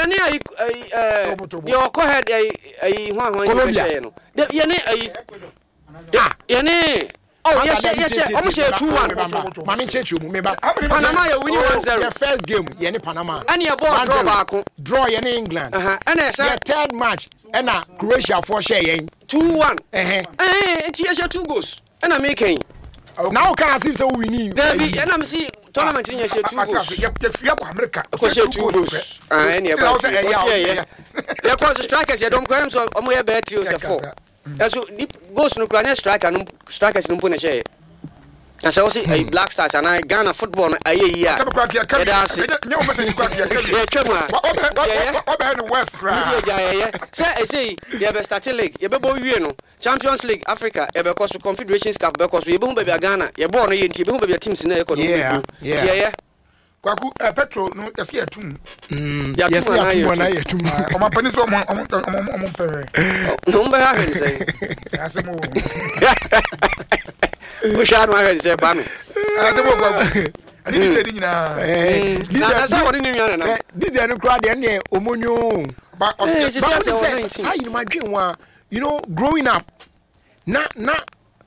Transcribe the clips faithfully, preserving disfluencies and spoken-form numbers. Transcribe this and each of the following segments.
Yɛne ayi ayi ɛɛ deɛ ɔkɔ head ayi ayi hwan hwan Colombia. yɛ no. De- Yɛne ayi yɛne oh, yɛhyɛ yɛhyɛ ɔmo hyɛ two one. Maame, nkyerɛkyerɛ mu, meba. Panama yɛ winning one zero. Yɛ first game, yɛne Panama. Ɛne yɛbɔɔ draw One zero. baako. Draw yɛne England. Aha, ɛna ɛsɛ yɛ third match, ɛna Croatia foɔ hyɛ yɛn. Two one. Ɛhɛn. Ɛɛ, nti yɛhyɛ two goals ɛna meka yi. Na wo kan as if sɛ wo wini. Dabi, ɛna mesi tournament ni yɛhyɛ two goals. Yɛfiri akɔ America. Kɔhyɛ two goals. Ah, ɛne ɛba fie. Ɔsi ɛyɛ yɛkɔ so strikers yɛ dɔm kɔ ɛnum sɛ ɔmo yɛ bɛyɛ three o sɛ four, ɛso deep goals no kura nyɛ striker no, strikers no mpo na ɛhyɛ yɛ. Na sɛ wɔsi ɛyi Black Stars anaa Ghana football no ayɛ yie a, yɛda ase. Yɛtwa mu a yɛyɛ ɔbɛyɛ no west wodi koraa. Agya, yɛyɛ sɛ ɛsɛ yi yɛbɛ start league, yɛbɛbɔ wie no, Champions League Africa yɛbɛkɔ so, Confederations Cup bɛkɔ so, yɛbɛhu baabi a Ghana yɛbɔɔ no yɛ, nti yɛbɛhu baabi a teams no yɛkɔ no. Yeah, wobɛduru yeah. nti yɛyɛ. Kwaku, ɛ petrol no, yɛsɛ yɛtum. Yɛsɛ anaa yɛatum yɛtum? Anaa yɛtum. Ɔmampanin sɛ ɔmo ɔmo ɔmo ɔmo mpɛrɛ. Na ɔmo bɛhwɛ ahwɛ ne sɛn? Asɛm o. Wohwɛ ano ahwɛ ne sɛ, Kwame. Asɛm o, Kwaku, ɛne diesel ni nyinaa. Na na sɛ wɔne ne nua nana. Diesel no koraa deɛ, ɛneɛ ɔmo nyo. Ba Eh, ɔsɛ sisi But asɛ wonim wɔ sɛ nineteen. saa yi no madwen ho a, you know growing up, na na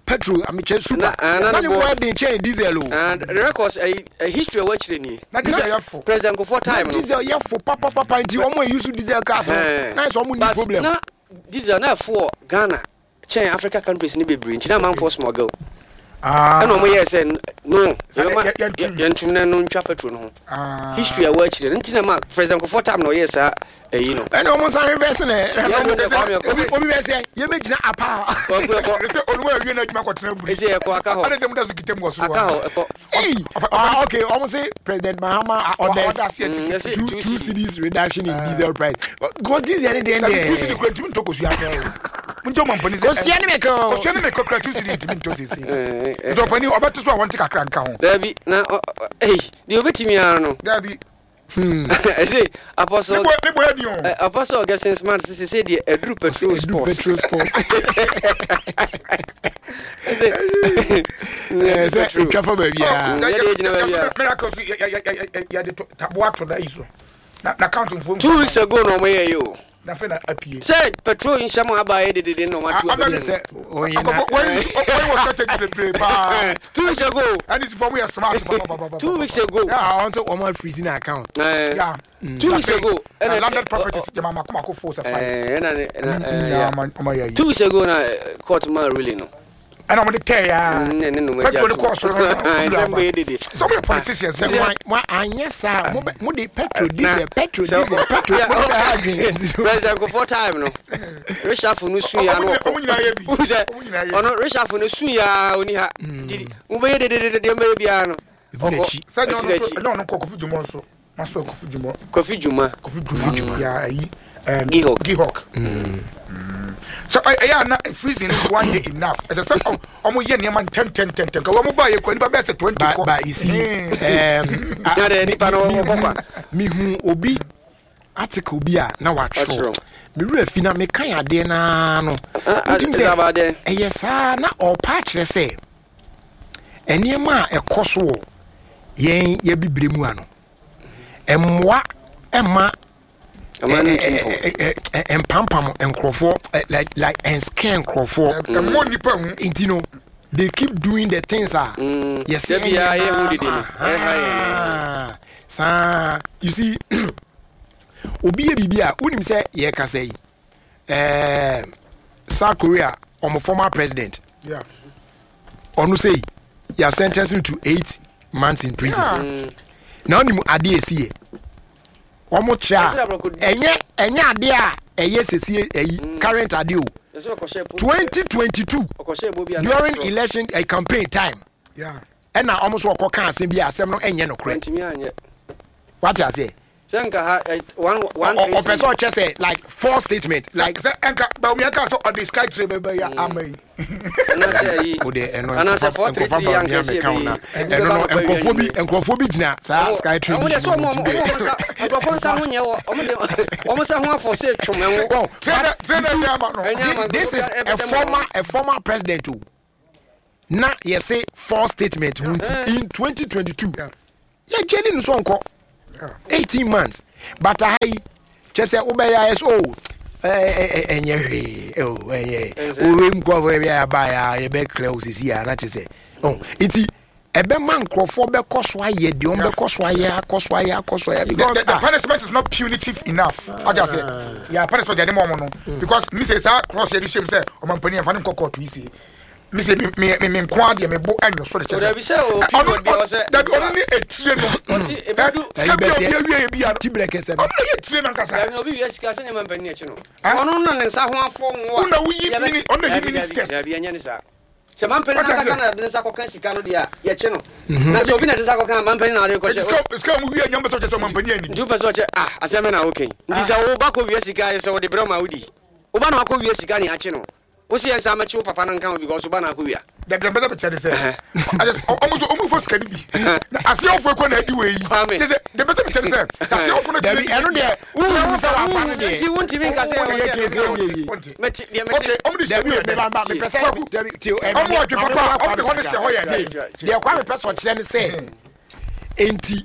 petrol amekyɛ super Na- ah, na na ne ne boɔ- boɔ den kyɛn diesel o. Ah, the records, ɛyi ɛ history a wɔakyerɛ nie. Na diesel yɛ fo. President Kufuor time no. Diesel yɛ fo papapapa, nti ɔmo a use diesel cars no Eh. na yɛ sɛ ɔmo ni But problem. na diesel na ɛfo wɔ Ghana kyɛn Africa countries ni bebree, nti na amanfoɔ smuggle. Ah. Ɛna ɔmo yɛɛ sɛ no, yɛbɛma yɛ- yɛntum. Yɛntum na no ntwa petrol no ho. Ah. History a wɔakyerɛ no nti na ma President Kufuor time na ɔyɛɛ saa ɛyi no. Ɛna ɔmo nsan reverse nɛ. Yɛn no deɛ, Kwame, ɛkɔ. obi obi bɛ sɛ yɛbɛgyina apa. Kwaku, ɛkɔ. Ɛsɛ oluwa awie na adwuma kɔtena buri. Ɛsɛ ɛkɔ aka hɔ. Ade sɛ mo da so kita mu wɔ soro. Aka hɔ, ɛkɔ. Hey, ah, okay, ɔmo say President Mahama orders ɔda ase ati. Mm, yɛsɛ two two two cedi. cedis reduction in diesel price, because diesel ne deɛ Dabi, two cedi deɛ kura ntumi ntɔ kosua akɛ o. Mo ntɔ ɔmampanin sɛ Kosua ne mɛka o. Kosua ne mɛka kura two cedi ntumi ntɔ sese. Eh, eh, Nti ɔpanin ɔbɛto so a wɔnte kakra nka ho. Dabi, na ɔ- ɔ- ɛyi deɛ obɛtumi ara no. Dabi. Ɛsɛ Apostle Ne bɔ ne bɔ ɛdi o. eh, Apostle Augustine Smart sisi sɛ deɛ ɛduru petrol Edu sports. Petrol sports. Ɛsɛ Ɛɛ, sɛ etwa fa baabi a. Yɛde gyina baabi a. Miracle so yɛ yɛ yɛ yɛde to taboa to da yi so na na count nfo. Two weeks ago na ɔmo yɛ yi o. Na fɛ na apie. Sɛ petrol nhyɛm aba yɛ dedede na ɔmo atu Ah, abɛtɛ. Sɛ ɔyɛ na Akɔfo wɔyi wɔyi wɔ strategy bebree paa. Two weeks ago. Ɛne si fɔ mo yɛ smart papa. Two weeks ago. Ah, ɔn sɛ wɔn freeze na account. Eh, Yeah. Two weeks ago Na landed properties jama mako mako four sɛ five. ɛɛ, ɛna ne ɛna Ɛne ɛɛ, nyinaa yeah. ɔmo ɔmo yɛ yi. Two weeks ago na eh, court man ruling no. Ɛna ɔmo de tɛɛ ya. Mm, ne ne nom Petrol de kɔɔ soro no. Nsɛm bɛyɛ dede. Sɛ ɔmo yɛ politicians. Sɛ Sɛ mo mo anyɛ saa, mo bɛ mo de petrol, diesel, petrol, sɛ- diesel, petrol, mo de bɛ ha adwene. President Kufuor time no, reshuffle no sun ya no. Ɔmo nyinaa yɛ bi. Wohu sɛ Ɔmo nyinaa yɛ bi. ɔno reshuffle no sun ya oni ha, nti mobɛyɛ dededede deɛ mbɛyɛ biara no. Efu n'akyi. Sɛ ɛnyɛ ɛsi ɔno nso n'akyi. ɛnyɛ ɔno nkɔ Kofi Jumah nso maso Kofi Jumah. Kofi Jumah. Kofi Jumah ya ayi ɛm, Gihok. Gihok so ɛ- ɛyɛ ana freezing one day enough? Ɛsɛ sɛ ɔm- ɔmo yɛ nneɛma ntɛmtɛmtɛmtɛm ka wɔn ba yɛ kura nipa bɛyɛ sɛ twenty but kɔ. But you see, um, Na deɛ nipa no wɔkɔ kwa. Mihu obi article bi a na watwerɛ. Watwerɛ. Mewura fi na mekan adeɛ naa no, Ah, ah, wotim is about sɛ there. ɛyɛ saa na ɔpa akyerɛ sɛ nneɛma a ɛkɔ so wɔ yɛn yɛbibire mu ano ɛmmoa ɛma Ɔman no ntu mpɔn. mpampam nkurɔfoɔ, ɛ, like like ɛnscare nkurɔfoɔ. Ɛmmɔ nipa hu. Nti no they keep doing the things a yɛsɛ Da biara yɛhu dede no. Ɛha yɛn. ɛnyɛ saa. You see, obi yɛ biribi a wonim sɛ yɛkasa yi, ɛɛ South Korea ɔmo former president, Yeah. ɔno sɛ yɛ sentence him to eight months in prison. Yeah. Na ɔnim adeɛ esi yɛ wɔn kyerɛ a, ɛnyɛ ɛnyɛ adeɛ a ɛyɛ sɛsie ɛyi current adeɛ o. Yɛsɛ ɔkɔhyɛ po- Twenty twenty two ɔkɔhyɛ bo bi a na during ɔtwerɛ. election uh, campaign time, Yeah. ɛna ɔmo nso ɔkɔ ka asɛm bi a asɛm no ɛnyɛ nokorɛ. Ntumi anyɛ. Wate aseɛ? Sɛ nka ha ɛ, one one Ɔ- three ɔpɛ three. sɛ ɔkyɛ sɛ like false statement like sɛ ɛnka Bawumia ka sɛ ɔde sky train bɛbɛ yɛ ama yi. Anaasɛ ayi o de ɛno anaasɛ four three nkɔfa three Bawumia yankɛ sɛ mɛka wo na ɛbɛyi. ɛno no nkurɔfoɔ bi nkurɔfoɔ bi gyina saa sky train ɔmo bi de sɛ so ɔmo mu ɔmo nti ɔmo nsa nkurɔfoɔ nsa ho nyɛ wɔ ɔmo de ɔmo nsa ho afɔ sɛ twom ɛho. Oh, train but train you see, ɛnyɛ ama no. Ɛnyɛ ama. This is a former a former president o, na yɛsɛ false statement ho nti in twenty twenty-two Yeah. yɛgye ne no so nkɔ eighteen months, but aha yi Kyɛ sɛ wobɛyɛ ayɛ sɛ o ɛnyɛ hwee o ɛnyɛ owei nkurɔfoɔ bi a yɛaba a yɛbɛkra wo sisi a na kyɛ sɛ ɔ nti ɛbɛma nkurɔfoɔ bɛkɔ so ayɛ deɛ ɔmo bɛkɔ so ayɛ akɔ so ayɛ akɔ so ayɛ because the, the ah punishment is not punitive enough. Ɔjà sɛ yà punishment yɛ de mɔ ɔmo no because mi sɛ saa cross yɛ de hyɛ mu sɛ ɔmɔ mpanyin yɛn fa ne nkɔ court yi se mi sɛ mi mi mi mi nko adeɛ mi bo ɛnyɛ so de kyɛ Dabi sɛ o period bi a ɔsɛ dabi ɔno ne etire no Ɔsi ebedu sika bi a obi awie yɛ bi a ti brɛ kɛsɛ no ɔno na yɛ etire no ankasa dabi obi wia sika sɛ nneɛma mpanyin akyi no Ah? ɔno na ne nsa ho afɔ ngo a Wo na woyi Yɛbɛ- mini- ɔno na yi Dabi, dabi, ministers. dabi ɛnyɛ ne saa sɛ mampanin What ankasa is it? na de ne nsa kɔka sika no deɛ a yɛkye no na sɛ obi na de nsa kɔka a mampanin na ɔde eti kɔhyɛ sika sika mu wie nyɛ mbɛ sɛ ɔkyɛ sɛ ɔmɔ mpanyin ani nti wopɛ sɛ ɔkyɛ ah asɛm na woka yi nti sɛ woba kɔ wia sika sɛ wode brɛ ma wodi woba na wakɔ wia sika ne akye no wo sɛ yɛ nsa mɛkye wo papa no nka ho because woba na akɔ wia dabi dabi bɛ kyɛ de sɛ ɛsɛ ɔmo nso ɔmo fɔ sika ni bi na aseɛwofo ekɔ na adi wɔ yi Kwame. kyɛ sɛ de bɛ sɛ kyɛ de sɛ aseɛwofo no dabi ɛno deɛ wohu sɛ wafa no deɛ nti wontumi nka sɛ Wo- wo- ɛwɔ yɛ sɛ kese ɛno yɛ yie. mɛte deɛ mɛte okay ɔmo de hyɛ dabi mu yɛ meba dɛ meba mepɛ sɛ Kwaku, dabi tie ɛ, ɔmo mame- ɔdwe mame papa, mma ɔmo de Kwame hɔ no hyɛ hɔ yɛ kakra. dɛ. Tie, deɛ Kwame pɛ sɛ ɔkyerɛ ne sɛ enti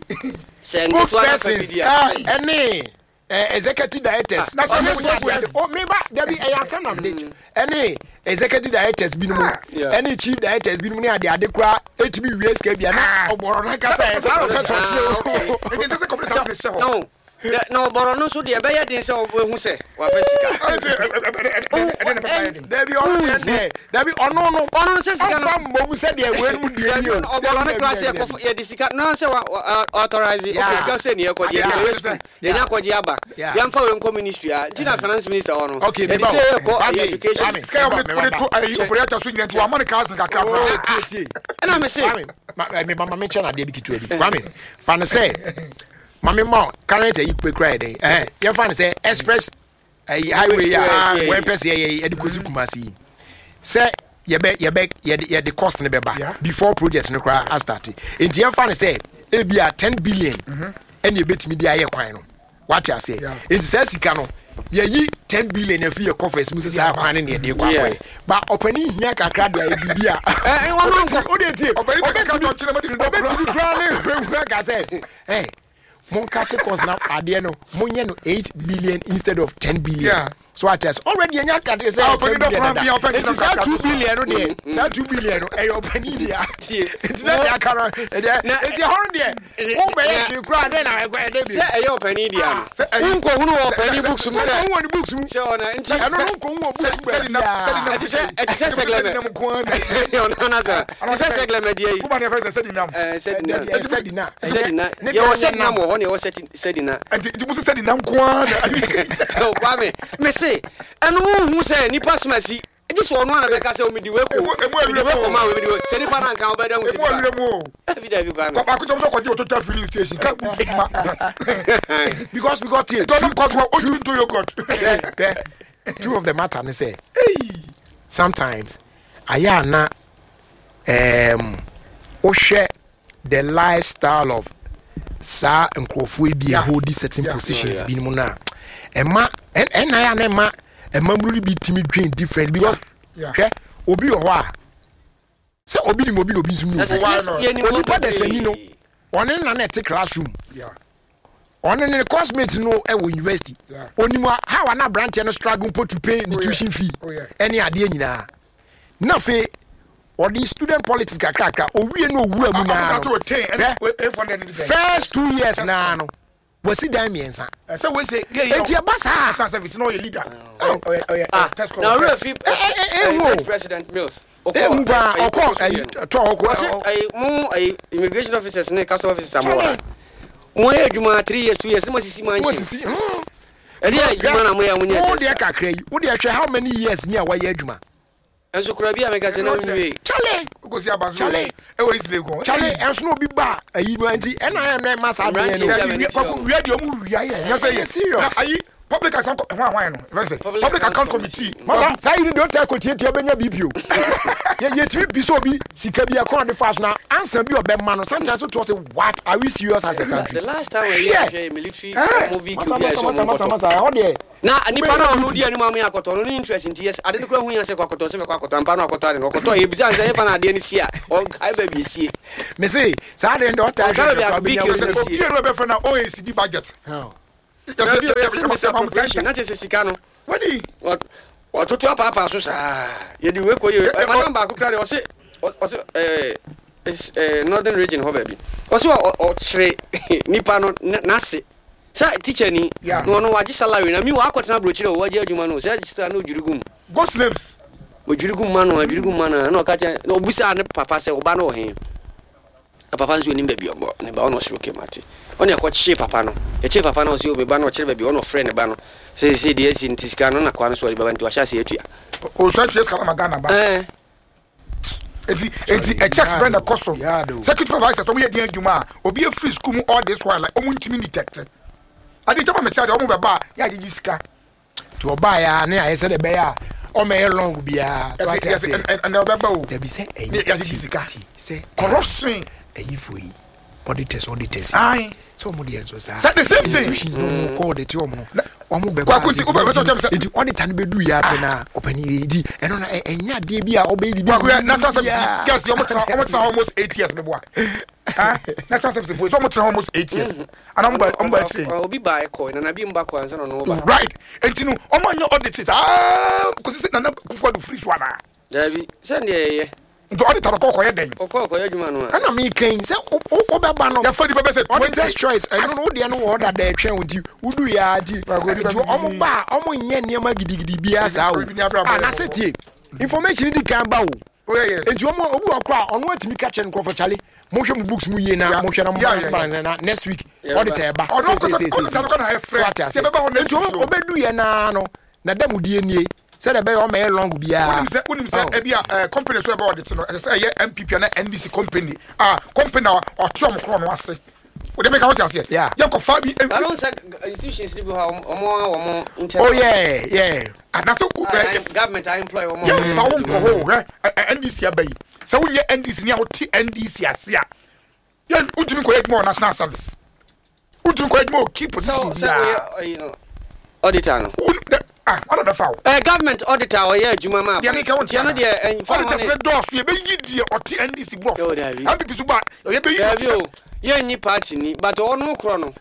sɛ nketewa no aka bi spokespersons di a ɛne eh, executive directors Na sɛ ɔne ɔmo spokespersons o meba dabi ɛyɛ asɛm na mede kyɛ ɛne executive directors binom Yeah. ɛne chief directors binom ne ade ade koraa etumi wie sika bia na ɔbɔrɔ n'ankasa yɛ saa na ɔpɛ sɛ ɔkyerɛ o nti sɛ kɔmputa de hyɛ hɔ no dɛ- na ɔbɔrɔ no nso deɛ ɛbɛyɛ den sɛ ɔbɛhu sɛ wafa sika dabi ɔno deɛ deɛ dabi ɔno no ɔno no sɛ sika no ɔfa mbom sɛ deɛ wei mu deɛ Dabi, ni o ɔbɔrɔ no kora sɛ yɛkɔfa- yɛde sika na sɛ wa- wa- authorize Yeah. okay, sika sɛ ne yɛkɔgye Yeah. yɛde wei school yɛnya akɔgye aba Yeah. yɛmfa wei nkɔ ministry a nti na finance minister hɔ no Okay, yɛde meba sɛ o. yɛkɔ Kwame, education Kwame. sika yɛ ɔmo de to ayi ofori ata so nyina nti wama ne cousin kakra koraa tie tie ɛna me se Kwame ma eh, me ma me kyɛ na adeɛ bi ketewa bi Kwame fa no sɛ ma me ma wo current ayi pe kura yɛ dɛn ɛhɛn yɛmfa no sɛ express ayi highway a Yes, yeah, wɔn pɛ sɛ yɛyɛ yɛde kɔsi Kumasi yi sɛ yɛbɛ yɛbɛ yɛde yɛde cost ne bɛba Yeah. before project no koraa astart nti yɛmfa no sɛ ebi a ten billion ɛna ebetumi de ayɛ kwan no wate aseɛ Yeah. nti saa sika no yɛyi ten billion afi yɛ coffers mu sɛ saa kwan no ne yɛde kɔ Yeah. akɔyɛ ba ɔpanin hia kakra de ayɛ biribi a Ɛ, ɛ, wɔn nkɔ. o de tie Ɔpanin pɛ kakra tɔ nkyɛn na mo de ne dɔ ɔbɛtumi kura ne ehu aka sɛ ɛ monka cost na adeɛ no monyɛ no eight million instead of ten billion Yeah. so ate ase already yɛnya kate sɛ Ah, ten ɔpanin dɔ billion kora dada bia, ɔpɛ eti nkyɛn saa kakra two to so. billion no deɛ saa two billion no ɛyɛ ɔpanin deɛ Tie. eti na deɛ aka no ɛdeɛ Na- eti ɛhɔ no deɛ wo bɛyɛ hwee koraa dɛn na ɛkɔ ɛdɛ bi sɛ ɛyɛ ɔpanin deɛ no Sɛ ɛyɛ- wonkɔhunu wɔ ɔpanin books mu sɛ sɛ ɔhu wɔ ne books mu sɛ ɔna nti ɛno no nkɔhu wɔ books mu sɛdi na sɛdi na baabiara Ɛte sɛ- ɛte sɛ sɛglɛmɛ. nam nko ara na ɔno na sɛ ɛte sɛ sɛglɛmɛ deɛ yi kuba ne fɛ sɛ sɛdi nam ɛɛ, sɛdina Ɛdeɛ sɛdina sɛdina Ne yɛwɔ deɛ sɛdina nam. wɔ hɔ ne yɛwɔ sɛti- sɛdina nti nti mo sɛ sɛdi nam nko ara na Kwame me se ɛno wohu sɛ nipa soma si gye sɛ ɔno ana bɛka sɛ omidi wei ko Emu- emu mede awura wei mu o. kɔma wei, mede wei- sɛ nipa no anka wobɛda hu sɛ emu awura nipa mu o dabi dabi Kwame baako tɔm sɛ ɔkɔgye o total filling station ka bu ma because because tie tɔnum kɔtɔ o tumi to yogurt pɛ pɛ truth of the matter ne sɛ sometimes ayɛ ana um, wohwɛ the lifestyle of saa nkurɔfoɔ yi bi a Yeah. hold certain Yeah. positions Yeah. bi mu no a ɛma ɛn- ɛnna ayɛ ana ɛma ɛmamuru no bi tumi dwen different because Yeah. hwɛ obi wɔ hɔ a sɛ obi nim obi na obi nso nim Na sɛ- obi Why yes, not? yɛnim wɔn onipa dasani no bebree. ɔne nana ɛte classroom Yeah. ɔne ne coursemate no ɛwɔ university Yeah. onim a how ana aberanteɛ no struggle mpo to pay ne Oh, yeah. tuition fee Oh, yeah. ɛne adeɛ nyinaa na afei ɔde student politics kakrakra owie na owura mu naa ɔmo no to ten ɛna Hwɛ, eight hundred and ten first two years naa no wasi dan mmiɛnsa sɛ wei sɛ gay eti ɛba saa ɛsan service na ɔyɛ leader ɔyɛ ɔyɛ Ah, test na owura fi ɛ, ɛ, ehu o. president Mills ɔkɔ- ehu paa ɛyi, ɔkɔ ɛyi, ɛyi tɔ ɔkɔ ɔse ɛyi mo ɛyi immigration officers ne custom officers Charlie. amoa mo yɛ adwuma three years two years ne mo sisi mansion mo sisi hmm. ɛde yɛ adwuma na mo yɛ mo nyɛ wo sɛ deɛ kakra yi wo deɛ hwɛ how many years ni a wayɛ adwuma nso kura bi a meka sɛ na nwie Charlie okosi abanso Charlie. ɛwɔ East Legon Charlie ɛnso na obi ba ayi no nti ɛna ayɛ mɛ ma saa adeɛ Mmeranteɛ no gya Dabi, wia- kwaku wia deɛ ɔmo wia yɛ nyɛ sɛ yɛ Serious. Na ayi public account hwan hwan no ɛfɛn sɛ Public public Account account committee masa saa yi ni deɛ ɔta kɔtiatia bɛnya bp o yɛ yɛtumi bi sɛ obi sika bi ɛkɔn de fa so na ansa bi ɔbɛma no sometimes to sɛ what are we serious as a country the last time we Hwɛ. yɛ military Eh, ɔmo vehicle masa bi a masa ɛsɛ masa ɔmo masa nkɔtɔ masa ɛhɔ deɛ na nipa na ɔno di anim amu yɛ akɔtɔ ɔno ne interest nti yɛ ade no kura hu yɛn sɛ kɔ akɔtɔ sɛ mɛkɔ akɔtɔ ampa no akɔtɔ ade no ɔkɔtɔ yɛ bisa sɛ yɛfa na adeɛ no si a ɔnkae baabi esie mese saa deɛ deɛ ɔta Ɔka hwɛ baabi a hwɛ big kora case bɛnya no wo si. obi yɛrɛ bɛfɛ na oecd budget si. Dabi o, yɛsɛ misappropriation na kyerɛ sɛ sika no Wadi. Wɔtoto apaapaa so saa, yɛde wei kɔ yɛ. Madam baako kora deɛ, ɔse ɔse ɛɛ ɛɛ Northern Region hɔ baabi, ɔse ɔkyerɛ nipa no n'ase sɛ teacher ni na ɔno wagye salary na mi wakɔtena aburokyerɛ o, wagye adwuma no sɛ sika no odwiri gum. Ghost names. Odwiri gum ma no, odwiri gum ma no, ɛna ɔka kyerɛ na obusaa ne papa sɛ ɔba no wɔ he, na papa nso onim baabi ɔbɔ ne ba. Ɔna ɔsoro kemate ɔne ɛkɔ kyee papa no, ɛkyee papa no, ɔsɛ o me ba no, ɔkyerɛ baabi ɔna ɔfrɛ ne ba no sɛ sɛ deɛ asi nti sika no na kwa no so ɔde bɛba, nti wahyɛ ase atua. Osu atua sika no ma Ghana ba. Ɛɛ. Eti eti ɛ checks bɛn na ɛkɔ so? Security supervisors ɔmo yɛ den adwuma a obi efiri school mu all this while, like ɔmo ntumi detect ade nkyɛn ma mɛ kyerɛ deɛ ɔmo bɛ ba a yɛ agyegye sika. Nti ɔbaa yɛ a ne ayɛ sɛ de bɛyɛ a ɔmɛyɛ long biara so ɛti ate yɛsɛ aseɛ. Ɛnɛ ɔbɛba o. Dabi, sɛ ne ɛyi yɛagyegye sika. Ti sɛ corruption. Ɛyifo yi, auditors auditors Ayi. Sɛ ɔmo deɛ nso saa Sɛ the same thing. Institutions na ɔmo kɔ audit ɔmo no, ɔmo bɛ Kwaku, nti wobɛ- wobɛ sɛ ɔkyerɛ me sɛ- nti auditor no bɛdu yɛ apɛ na ɔpɛni yɛ nti ɛno na ɛ- ɛnyɛ adeɛ bi a ɔbɛyɛ bibi. Kwaku, yɛ National Service girls ɔmo tena ɔmo tena almost eight years bɛboa ah National Service fo ɔmo tena almost eight years ana ɔmo ba ɔmo ba akyire. Obi ba ɛkɔ nana bi mba kɔ ansa na ɔno ba. Right, nti no ɔmo anyɛ audit saa kòsi sɛ Nana Akufo Addo firi so ana? Dabi, sɛ deɛ ɛyɛ. Nti auditor no kɔ kɔyɛ dɛn? Ɔkɔ ɔkɔyɛ adwuma no a. Ɛna mi kɛn sɛ wo- wo- wobɛba no Yɛfa nipa bɛ sɛ auditors twenty choice, ɛno no wodeɛ no wɔ hɔ dada ɛtwɛn wo, nti wodu yɛ a nti Kwaku, nipa nti ɔmo bi- ba a ɔmo nyɛ nneɛma gidigidi biara saa o. Obi ni abira Ah, bɔ- na sɛ tie, information di kan ba o. Oh, yeah, yeah. Nti ɔmo obi wɔ kora a ɔno atumi ka kyerɛ nkurɔfo, "Charley, monhwɛ mo books mu yie na Yeah. monhwɛ na mo Yeah, balance yeah, balance na next week Yeah, auditor ɛba." Ɔno Sei, nkɔsɛ- sei, sei, sei, auditor no kɔ na ɛfrɛ. So ate ase. Sɛ ɛbɛba hɔ next Nti week o. ɔbɛdu yɛ naa no na da mu die nie sɛdeɛ ɛbɛyɛ ɔmɛyɛ long biara. Wonim sɛ wonim sɛ Oh. ebi a ɛɛ company so ɛbɛ audit no, ɛsɛ sɛ ɛyɛ N P P ana N D C company a company a ɔte ɔmo korɔ no ase o de meka wote aseɛ. Yeah. Yɛn kɔ fa bi. Alo, sɛ institutions ni bi hɔ a ɔmo a ɔmo nkyɛn. Oh yeah yeah Anase ɛ Government a employ ɔmo. Yɛn fa wo nkɔ hɔ o, hwɛ ɛ ɛ N D C aba yi sɛ wonyɛ N D C ni a wote N D C ase a, yɛn wotumi nkɔ yɛ adwuma wɔ national service, wotumi nkɔ yɛ adwuma wɔ key position Sɛ sɛ biara. ɔyɛ ɔyi no auditor no. Wo dɛ ah ɔna bɛfa wo. Ɛ government auditor ɔyɛ adwuma ma. Deɛ meka wo. Tiɛ no deɛ ɛnfa Auditors ne dɔɔso, yɛbɛyi deɛ ɔte N D C Yo, borɔfo. dabi. N P P so ba yɛbɛyi. Dabi o, yɛnyi party ni, but ɔno korɔ no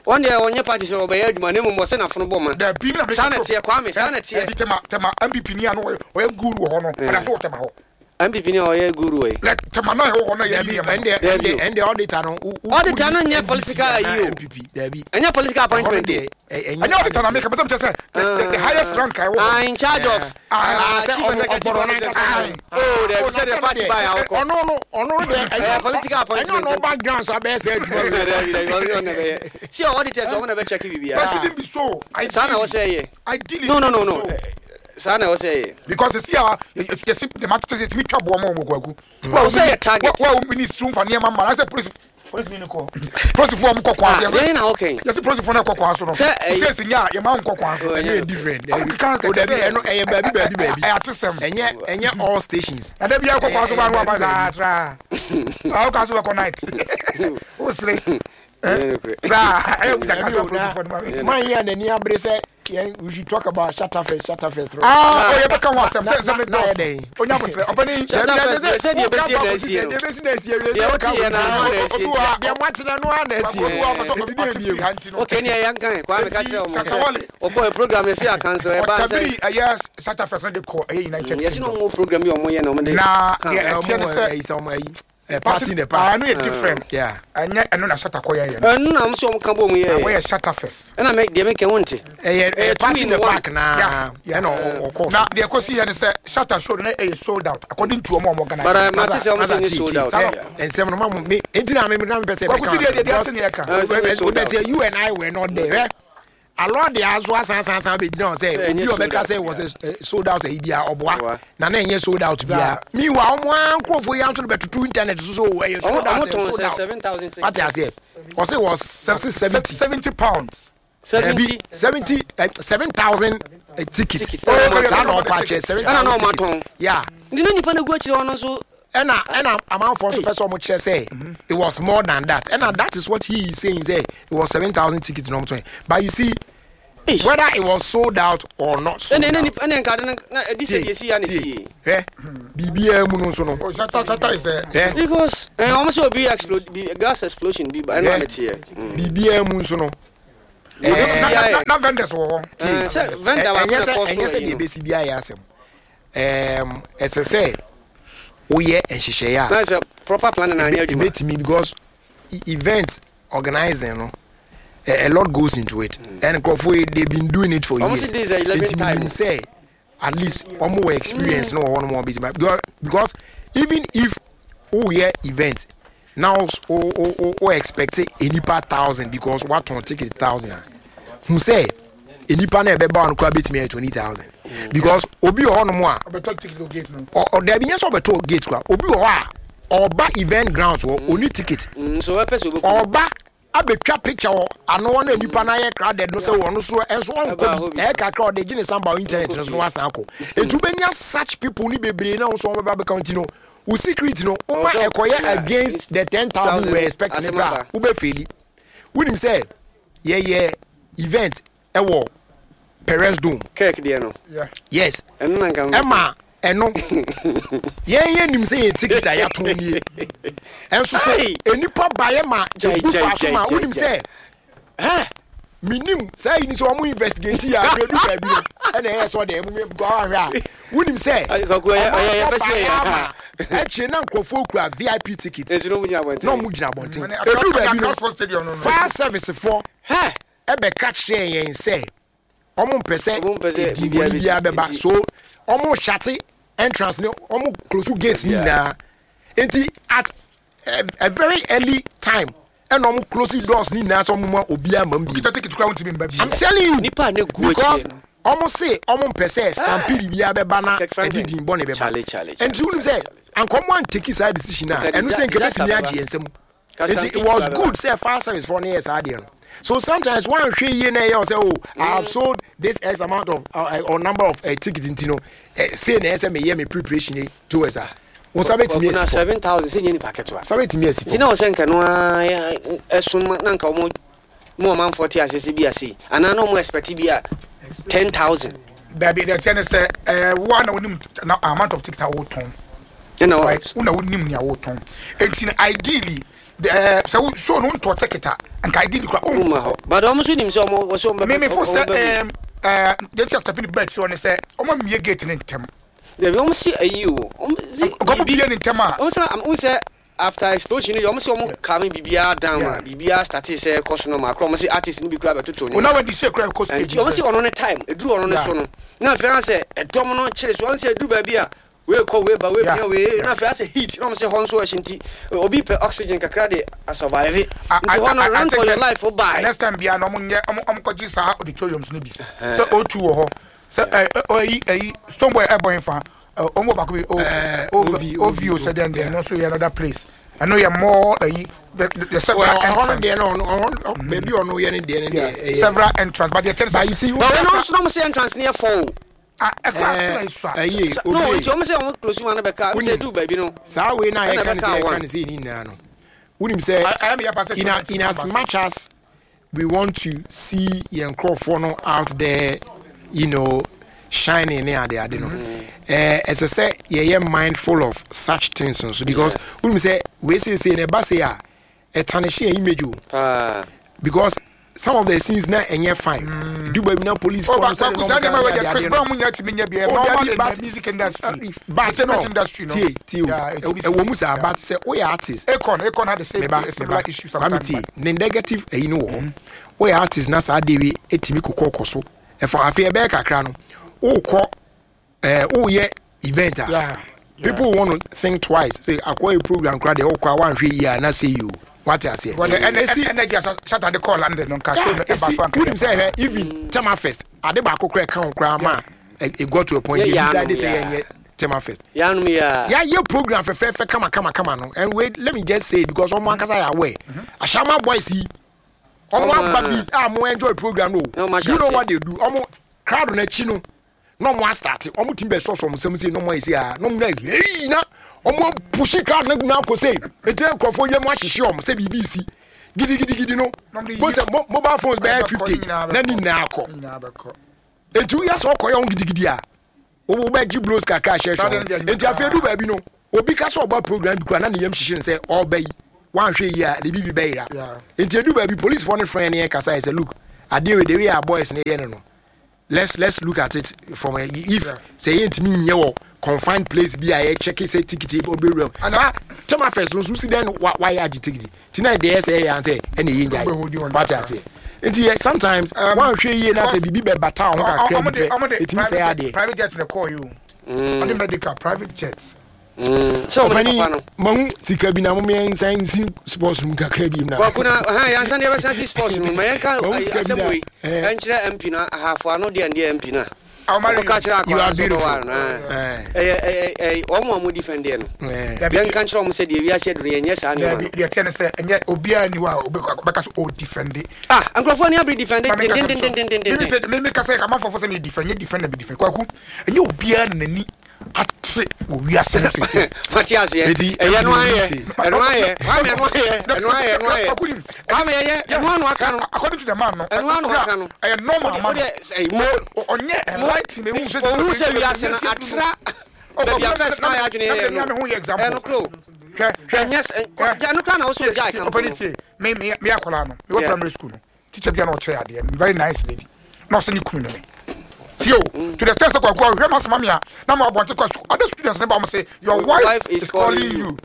wɔn deɛ ɔnyɛ party sɛ ɔbɛyɛ adwuma ne mmom ɔsɛ n'afono bɔ ma. Dabi, mi na meka. Saa na teɛ, Kwame, saa na teɛ. Ɛnti tɛma tɛma N P P ni a no ɔyɛ ɔyɛ guru wɔ hɔ no, ɔda so wɔ tɛma hɔ. N P P ni a ɔyɛ guru wɔ yi. Like tɛma náà ɛwɔ hɔ no yɛ Dabi, yi yɛ ma. ɛndeɛ Dabi o. ɛndeɛ ɛndeɛ auditor no wo- wo- Auditor no wodi nyɛ N D C political anaa ayi o. N P P, dabi. Ɛnyɛ political Ɛhɔ no appointment o. deɛ, ɛ- ɛnyɛ Ɛnyɛ auditor na meka bɛtɛ mi kyɛ sɛ the the- the highest rank a ɛwɔ hɔ. Ah, in charge of Ah, ah, sɛ chief ɔmo- executive ɔbɔrɔ officer. n'ankasa. Oh, dabi, Oh, sɛ na deɛ party sɛ ba yɛ deɛ, awokɔ. ɔno no ɔno no deɛ Ɛyɛ political appointment. Ɛnyɛ ɔno background so abɛyɛ sɛ adwuma wei. Dabi dabi, ɔno ɔno na bɛyɛ si auditors, ɔmo na bɛ check biribiara. But shouldn't be so. Saa na wɔsɛ yɛ. Ideally No, no, no, shouldn't no. be so. Saa na wɔsɛ yɛ. Because esi a yɛsi the matter sɛ yɛtumi twa boɔ ma wɔn kwaku. Wɔn sɛ yɛ target. Wa wa ni sunu fa nneɛma ma na sɛ polisi polisi ni kɔ polisifoɔ ɔmo kɔ kwan Ah, so. yɛn na ɔkɛn. Yɛsi polisifoɔ no kɔ kwan so no. Sɛ ɛyi- sɛ esi nya yɛ ma nkɔ kwan so. Oh, Ɛnyɛ ɛnyɛ different. Ɔmo keka O dabi, ɛno ɛyɛ baabi baabi baabi. Ɛyɛ atesɛm. Ɛnyɛ ɛnyɛ all stations. Na de bi akɔ kwan so ba no aba Ɛyɛ saa tra awo kan so bɛ kɔ night o sere. Ɛnyɛ nokorɛ. Saa ɛyɛ kuta Dabi kasa o, na polisifoɔ no ma mi. man yi a n'ani abere sɛ yɛn we should talk about Shattafest Shattafest. Aa, o yɛ bɛ ka ho asɛm sɛ nsɛm ne na yɛ dɔɔso. dɛn? Onya abotire ɔpɛni. Shatta Dabi, Fest, deɛ sɛ deɛ ɛbɛsi na asie no. Deɛ ɛbɛsi na asie no. Deɛ wote yɛ no, ano na asie. Obi wɔ ha- Deɛ moatena no ara na asie. Obi wɔ ha ɔpɛ sɛ Enti deɛ ɔte bio. firi ha nti no. Okay, ni ɛyɛ nkan Kwame ka kyerɛ ɔmo Shatta Wale. sɛ ɔkɔ program yɛsi akanso ɛba sɛ Ɔtabiri ɛyɛ Shattafest no de kɔ ɛyɛ United yɛsi na Kingdom. ɔmo program yi ɔmo yɛ na ɔmo de Na ka. deɛ ɛteɛ ne Ɔmo sɛ ɛyi sɛ ɔmo ɛyi ɛ, party in the Ah, park. ɛno yɛ different. Yeah. Ɛnyɛ ɛno na Shatta kɔ yɛ yɛ no. Ɛno na ɔmo sɛ ɔmo ka bɔ ɔmo yɛ. Wɔyɛ Shattafest. Ɛna mɛ deɛ meka wo nte. Ɛyɛ ɛyɛ two party in in the one. park naa Yeah, yeah. ɛna ɔ- ɔkɔɔ so. Na deɛ ɛkɔsi yɛ ne sɛ Shatta show no na ɛyɛ sold out according to ɔmo a ɔmo organize. But, uh, mate sɛ ɔmo sɛ Masa, nye tie, sold tie. out. Ɛ, nsɛm no ma mo me enti na me na mepɛ sɛ Kwaku si mɛka deɛ deɛ deɛ because ate ne yɛ ka. Ah, sɛ nye sold wodɛ out. sɛ you and I were not there, eh? Alɔ de aso asan asan asan bɛgyina hɔ sɛ Sɛ obi ɛnyɛ a sold ɔbɛka out. sɛ was a sold out ayi bia ɔboa Ɔboa. na na ɛnyɛ sold out bia. Meanwhile, ɔmo a nkurɔfoɔ yi anso de bɛtoto internet so so ɛyɛ Ɔmo sold ɔmo out, ɛyɛ tɔn sold sɛ out. seven thousand six. Wate aseɛ, ɔse was ɔse seventy Seventy pounds. Seventy. Seventy seven thousand tickets. Tickets. Oh, okay, Saa na okay. ɔkɔ akyerɛ seven Ɛna na thousand ɔmo tickets. atɔn. Yeah. Nti na nipa no gu akyire hɔ no nso. Ɛna ɛna amanfoɔ nso pɛ sɛ ɔmo kyerɛ sɛ it was more than that, ɛna that is what he is saying, sɛ it was seven thousand tickets na ɔmo tɔn. But you see, Eish. whether it was sold out or not sold ɛna ɛna out, nipa ɛna nkade no na ɛdi sɛ deɛ si ya na si yie. Hwɛ, biribiara mu no nso no Oh, Shatta Shatta is a hwɛ Because ɛɛ ɔmo sɛ obi explode bi, gas explosion bi ba ɛna Yeah. ɔmo teɛ. Biribiara mu nso no Yɛbɛsi Na- bi na- ayɛ. na- na vendors wɔ hɔ. Tie, Eh, sɛ vendor ɛ- baako ɛnyɛ na sɛ ɛkɔ so ɛnyɛ sɛ yi deɛ no. ɛbɛsi bi ayɛ asɛm. Ɛɛm, ɛsɛ sɛ woyɛ nhyehyɛeɛ a Na sɛ proper planning na anyɛ adwuma. Ebetumi, because e- event organizing no, a, a lot goes into it mm. and nkurɔfoɔ yi, they been doing it for Ɔmo years. si this is the eleventh Nti time. menim sɛ at least ɔmo wɔ experience no wɔ hɔ nom a ɔmo because because even if woyɛ event now, o o o o expect enipa thousand because watɔn ticket thousand a, hun sɛ enipa na ɛbɛba no koraa betumi ayɛ twenty thousand, because obi wɔ hɔ nom a Ɔbɛtɔ ticket o gate no. ɔ ɔdabi nyɛ sɛ ɔbɛtɔ gate koraa. Obi wɔ hɔ a ɔba event grounds wɔ oni ticket. Mm, so wɔpɛ sɛ obɛku. Ɔba abɛtwa picture wɔ ano hɔ na nipa na ayɛ crowded no sɛ wɔn so ɛnso Ɛba ɔnkɔ hɔ bi bi. Ɛyɛ kakra, ɔde gye ne samba wɔ internet no so na wasan akɔ. Etu bɛnya such people ni bebree na wɔn nso wɔn bɛba bɛka. Nti no wo secret no wɔn Ɔsɛ- ɛkɔyɛ yeah, against the ten thousand we expect ne asɛm bra aba. wobɛ fail. Wonim sɛ yɛyɛ event ɛwɔ Perez Dome. Kirk deɛ no. Yeah. Yes. Ɛno na nka. Ɛma ɛno yɛn yɛ nim sɛ yɛ ticket a yɛatɔn nie, ɛnso so Hey! enipa baeɛ ma Gyae, ebu gyae, fa so gyae, ma gyae, wonim sɛ Hɛ! minim saa yi ni sɛ ɔmo investigate yɛ ahwɛ du baabi no, ɛna ɛyɛ sɛ ɔde ɛmu mi gɔ ahwɛ a, wonim sɛ Ay, Kwaku, ɔyɛ- ɔyɛ- yɛpɛ sɛ ɔmanfoɔ yɛyɛ. baeɛ ama ɛkyire na nkurɔfoɔ kura V I P ticket Nti na ɔmo gyina abɔnten. na ɔmo gyina abɔnten. Ɛne Edu baabi Accra Sports Stadium no, no, no. fire service foɔ Hɛ! ɛbɛka kyerɛ yɛn sɛ ɔmo mpɛ sɛ Ɔmo mpɛ sɛ edin biribiara bɔne biara bɛsi. bɛba Nti- so ɔmo shut entrance ne ɔmo close gate ne nyinaa. Nti at a, a very early time ɛna ɔmo close doors ne nyinaa sɛ ɔmo ma obiara ma mu bi. Kita ticket kura, wontumi mba bi. I'm telling you. Nipa a ne gu Because akyire no. ɔmo se ɔmo mpɛ sɛ stampede biara bɛba na Kirk ɛde Franklin. din bɔne bɛba. Charlie, Charlie, Nti wonim sɛ anka ɔmo antake saa decision a Nka ɛno sɛ nka disaster bɛtumi bɛba. agye yɛn nsam. Ka Nti it stampede was bɛba. good sɛ fire service foɔ no yɛ saa adeɛ no. So sometimes one hwɛ yie na ɛyɛ sɛ, oh, I have sold this x amount of uh, or number of uh, tickets, nti no uh, say na ɛsɛ meyɛ me preparation yi towards a wo nsa bɛtumi Kwaku, na asi fam. seven thousand sɛ nyɛ nipa ketewa. Nsa bɛtumi asi Nti fam. na ɔsɛ nka no ara yɛ- ɛsom na nka ɔmo mu ɔmanfoɔ te ase sɛ bi ase anaa na ɔmo expect bi a ten thousand. Dabi, deɛ tiɛ ne sɛ ɛɛ wo a na wonim na amount of ticket a wotɔn. Ɛna Right, wɔ wo na wonim nea wotɔn, eti na ideally ɛɛ sɛ wo show no ntɔ ticket a, nka ideally kura ɔmo hɔ, but ɔmo nso nim sɛ ɔmo wɔsɛ ɔmo bɛ mímí fo ɔmo sɛ bɛ ɛɛm ɛɛ deɛ ti a step ni bɛɛ kyerɛ ne sɛ ɔmo mie gate ne ntɛm. Dabi, ɔmo si ayi o, ɔmo si Nkɔmɔ bie ne ntɛm a ɔmo sɛ ɔmo sɛ after explosion yi, ɔmo sɛ ɔmo calm biribiara down ma Yeah. biribiara start sɛ ɛkɔ so no ma akora ɔmo sɛ artist no bi kura bɛtoto ona ne wɛn di se kura kɔ stage. Nti ɔmo sɛ ɔno ne time eduru ɔno ne so no, na afei asɛ ɛdɔm no kyerɛ so, ɔmo sɛ eduru baabi a wei kɔ, wei ba, wei Yeah. pia wei Yeah. na afei asɛ heat na ɔmo sɛ hɔ nso ɛhyɛ, nti obi pɛ oxygen kakra de asurvive, nti hɔ no run for your life o bye. Next time bia na ɔmo nyɛ ɔmo ɔmo kɔgye saa auditoriums no bi sɛ O two wɔ hɔ sɛ ɛ ɛ ɛyi ɛyi Stonebwoy ɛbɔ nfa ɛ ɔmo wɔ baako bi o Eh, o O V, O V o sɛ dɛn dɛn, ɛno nso yɛ another place, ɛno yɛ more ɛyi the the several ɔhɔ no entrance. Deɛ no ɔno ɔhɔ baabi a ɔno yɛ ne deɛ no deɛ ɛyɛ Several entrance, but deɛ kyɛn But you sɛ see, But wɔn nso na ɔmo sɛ entrance ne yɛ four o. Ah, ɛkura still ayi so a ɛyɛ Sa- no obi nti ɔmo sɛ ɔmo close one bɛka ɔmo sɛ Wonim. eduru baabi no Saa wei na ɛna yɛka ne sɛ ɛbɛka yɛka one. ne sɛ yɛni nyinaa no, wonim sɛ ɛyɛ mi yɛ pa sɛ in, a, in as much as we want to see yɛn nkurɔfoɔ no out there, you know shining ne ade ade no, ɛɛ ɛsɛ sɛ yɛyɛ mindful of such things nso, because wonim sɛ wei seesei na ɛba sei a, ɛtarnish yɛn image o. Paa. Because some of the scenes na ɛnyɛ fine du baabi na police Oh, fɔ no but sɛ Kwaku, saa nneɛma wei deɛ, Chris Brown mu nyɛ tumi nyɛ bi, ɛyɛ Oh, normal dabi, in but- the music industry. But no Entertainment industry no. Tie, tie o. Yeah, it be- Ɛwɔ mu saa yeah. but sɛ woyɛ artist, Akon Akon had the same meba similar meba issue Kwame, sometimes. tie, ne negative ɛyi no wɔ hɔ. Woyɛ artist na saa de wi etimi kokɔ kɔ so ɛfɔ afei ɛbɛyɛ kakra no, wokɔ ɛɛ woyɛ event a, Yeah, people want to think twice say akɔyɛ program kora deɛ, wokɔ a wanhwɛ yie a na sɛ yi o, wate aseɛ? But the Esi- energy as Saturday call London no nka show no Yeah, ɛba esi so anka. wonim sɛ ɛhwɛ even Tema Fest ade baako kora ɛka ho koraa ma ɛ- it got to a point Yeah, they yeah, decided sɛ yeah. yɛnyɛ Tema Fest. Yanom yɛ a Yɛayɛ program fɛfɛɛfɛ kama kama kama no, and wait, let me just say it because ɔmo ankasa yɛ aware, Ashaiman boys yi, ɔmo Ɔmo aba bi a mo enjoy program no. Na ɔmo ahyɛ You know aseɛ. what they do? Ɔmo crowd n'akyi no na ɔmo astart, ɔmo ti bɛ sɔsɔ ɔmo nsɛm sei na ɔmo ayɛ sei a na ɔmo na hei na ɔmo apush crowd no na akɔ sei eti na nkurɔfoɔ yɛ mo ahyehye ɔmo sɛ biribi si gidigidigidi no. Na ɔmo de yi- Mo sɛ mo mobile phones bɛyɛ Ɛbɛkɔ, fifty nyinaa na ne bɛkɔ. nyinaa akɔ. Nyinaa bɛkɔ. Eti woyɛ sɛ ɔkɔyɛ ho gidigidi a, wo wobɛgye blows kakra ahyɛ Saa hwɛ de no ho. deɛ Enti afei du baabi no, obi ka sɛ ɔba program bi kora na ne yam hyehyɛ no sɛ ɔba yi wanhwɛ yi a ne bibi bɛyera. Yeah. Enti edu baabi, policefoɔ no frɛ ne yɛn kasa yɛ sɛ, look, Adeɛ wei de wei a boys ne yɛ no no let's let's look at it from a, if sɛ yɛn ntumi nyɛ wɔ confined place bi a yɛ check sɛ ticket ɔbɛwura mu na tema first no nso si dɛn wa wayɛ agye ticket ti na deɛ ɛsɛ yɛ ansɛ ɛna ɛyɛ ngya wate aseɛ nti yɛ sometimes wɔn ahwɛ yie na sɛ biribi bɛ bata ho kakra bi pɛ etumi sɛ adeɛ. Private jet na kɔɔ yi o, ɔde medical private jet. Ɔpɛni mahu sika bi na mo yɛn nsan nsi sports mu kakra bi na. Kɔkɔ na hɛn yɛn nsan deɛ bɛsan si sports mu ma yɛn ka asɛm wei ɛnkyerɛ M P na ahafo ano deɛ ndeɛ M P na. Ɔka kyerɛ akɔla so bɛware no ɛyɛ ɛyɛ ɛyɛ wɔn a wɔn defend deɛ no yɛn ka kyerɛ wɔn sɛ deɛ wiase aduru yɛn nyɛ saa nneɛma no. Deɛ tiɛ ne sɛ ɛnyɛ obiara ni hɔ a ɔbɛka so o defend. Ah, nkurɔfoɔ ni abiri defend dendendendendenden. Mímí sɛ mímí kasa yɛ kama fɔfɔ sɛ mi defend nyɛ defend na mi defend kwaku ɛnyɛ obiara n'ani ate wɔ wiase no sese. Wate aseɛ ɛyɛ no ayɛ ɛno ayɛ kwame ɛno ayɛ ɛno ayɛ ɛno ayɛ kwame ɛyɛ ɛno ano aka no. According to the man no. Ɛno ano aka no. Ɛyɛ normal man. Ɔnyɛ enlighten ehu sɛ. Ohun sɛ wiase no atra baabi a first na ayɛ adwene yɛ no ɛno kuro ɛnyɛ ɛno kura na ɔsɔ gya ɛka mpo no. Me me me akɔla no me wɔ primary school no teacher bi a na ɔkyerɛ adeɛ very nice lady na ɔsɛ ne kunu ne me. Tio, to the extent that I go, now I want to other students never say your wife, wife is, is calling you. you.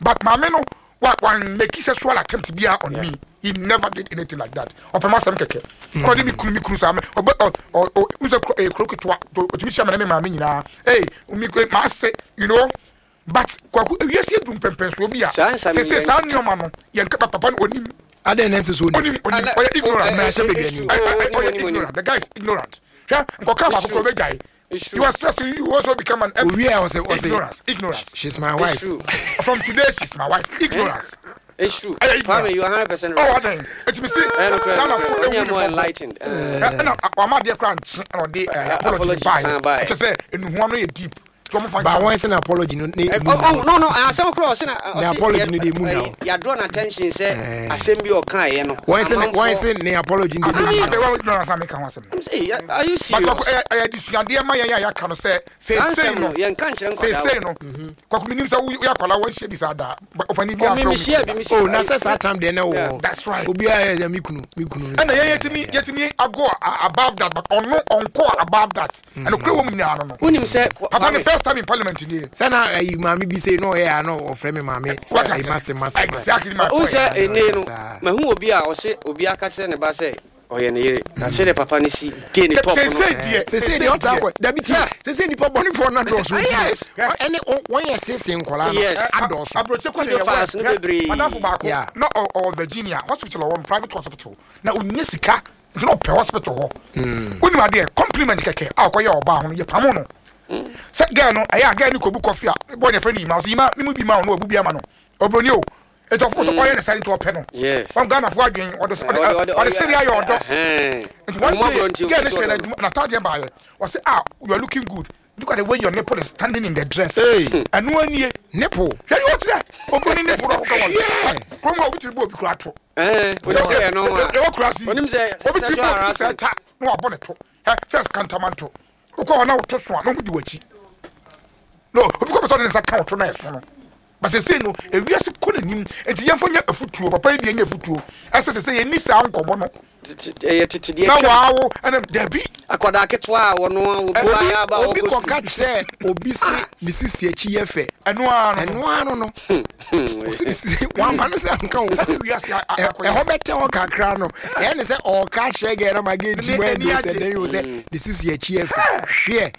But my man, what one make sexual attempt be on yeah. me. He never did anything like that. Or perhaps some keke. Or me kunu me kunu sam. Or or or who's a crooked to to me shaman me mammy Hey, me say you know. But yes, you do pempen so be. Say say sound your man. Yan papa onim. I didn't answer so. Onim onim. Ignorant. Ignorant. The guy is ignorant. Yeah, you are stressing. You also become an M P. Yeah, was was ignorance. Ignorance. She's my wife. From today, she's my wife. Ignorance. It's true. Kwame, you are hundred percent right. Oh, then it me see. You're more enlightened. No, I'm not there. Crunch. No, they apology. By. It's say, in one deep. But why is an apology? No, oh no no. I saw cross. The apology no dey mu now. You drawn attention say assembly or kind no. Why is why is the apology no dey mu? Are you serious? But I disuadeɛ ma yɛn a yɛaka no sɛ sɛ sɛ no sɛ sɛ no kwaku minim sɛ wo akwala wɔn hyɛ bi saa da ɔpani bi afro. Oh na sɛ saa time deɛ na wo. That's right. Obi ayɛ yɛ mi kunu mi kunu. Ɛna yɛn yɛtumi yɛtumi ago above that but ɔno ɔnkɔ above that. Ɛna kure wɔn nyinaa no no. Wonim sɛ papa ne first time in parliament today. Sana ayi maame bi say no eh no ofre me maame. Ayi mase mase. Exactly my point. O say ene no mahu obi a o se obi aka kire ne ba say oye ne yere. Na se de papa ne si de ne top no. Se se die. Se se die o ta ko. Da bi ti. Se se nipa boni for na do so. Yes. Ene won ye se se nkola no. Adoso. Abroche ko ne ye. Madam ba ko. No or Virginia hospital or private hospital. Na onye sika no pe hospital ho. Oni ma de compliment keke a ko ye oba ho no ye pamo no. Sɛ girl no ɛyɛ a girl no kɔbu kɔfi a bɔ ne fɛ ne ima ɔsɛ ima mimu bi ma ɔno ɔbu bi ama no ɔbroni o etu ɔfo so ɔyɛ ne sɛ nti ɔpɛ no wɔn Ghana fo adwen ɔde ɔde seri ayɛ ɔdɔ nti one day girl no hyɛ n'adwuma n'ataadeɛ baayɛ ɔsɛ ah you are looking good look at the way your nipple is standing in the dress ɛnu anie nipple hwɛ ni ɔkyerɛ ɔbroni nipple na ɔkɔ wɔn kurom a obi tiri bɔ obi kura to ɛɛ ɛwɔ kura si obi tiri bɔ obi sɛ ta na wabɔ ne to ɛ first kantamanto okɔ na woto so a na ɔmo di w'akyi no obi kɔ pɛsɛ ɔde ne nsa ka ɔto na ɛso no but sese no ewiase kɔ n'anim nti yɛmfa nyɛ afutuo papa yi bi nyɛ afutuo ɛsɛ sese yɛni saa nkɔmɔ no ɛyɛ tete deɛ na waawo ɛnam dabi akwadaa ketewa a wɔno obi ayɛ aba obi kɔka kyerɛ obi se ne sisi akyi yɛ fɛ ɛno ara no ɛno ara no osi ne sisi wamfa ne sɛ anka wo ɛhɔ bɛtɛ hɔ kakra no ɛyɛ ne sɛ ɔka kyerɛ gɛ na ma gɛ gyi wɔ ɛni sɛ dɛn yi sɛ ne sisi akyi yɛ fɛ hwɛ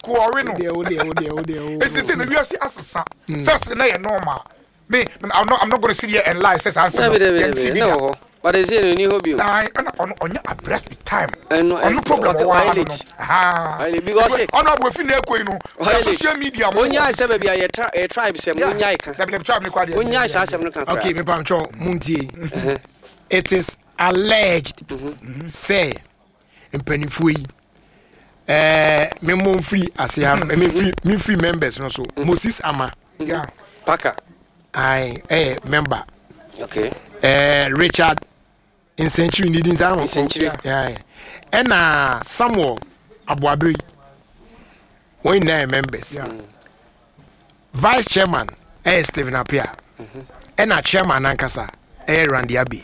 kɔɔre no deɛ o deɛ o deɛ o deɛ o eti sɛ na wiase asesa first na yɛ normal me I'm not I'm not going to sit here and lie says answer yɛn ti bi da. But they say no ni hobby. I on on abreast with time. No problem or no. Ah. Because on we fi na ekoi no. Social media mo. Onya se ba bia ye tribe se mo nya ka. Na tribe ni kwa de. Onya se asem no ka. Okay, me pam cho muntie. It is alleged say mpanifo yi eh me mo free ase me free me free members no so Moses Ama. Yeah. Parker. I eh member. Okay. Eh Richard Nsenchiri ni din san Nsenchiri. Yeah. And uh, Samuel Abuabiri. We nine members. Yeah. Vice chairman eh Stephen Appiah. Mm-hmm. And a chairman ankasa Ɛyɛ Randy Abbey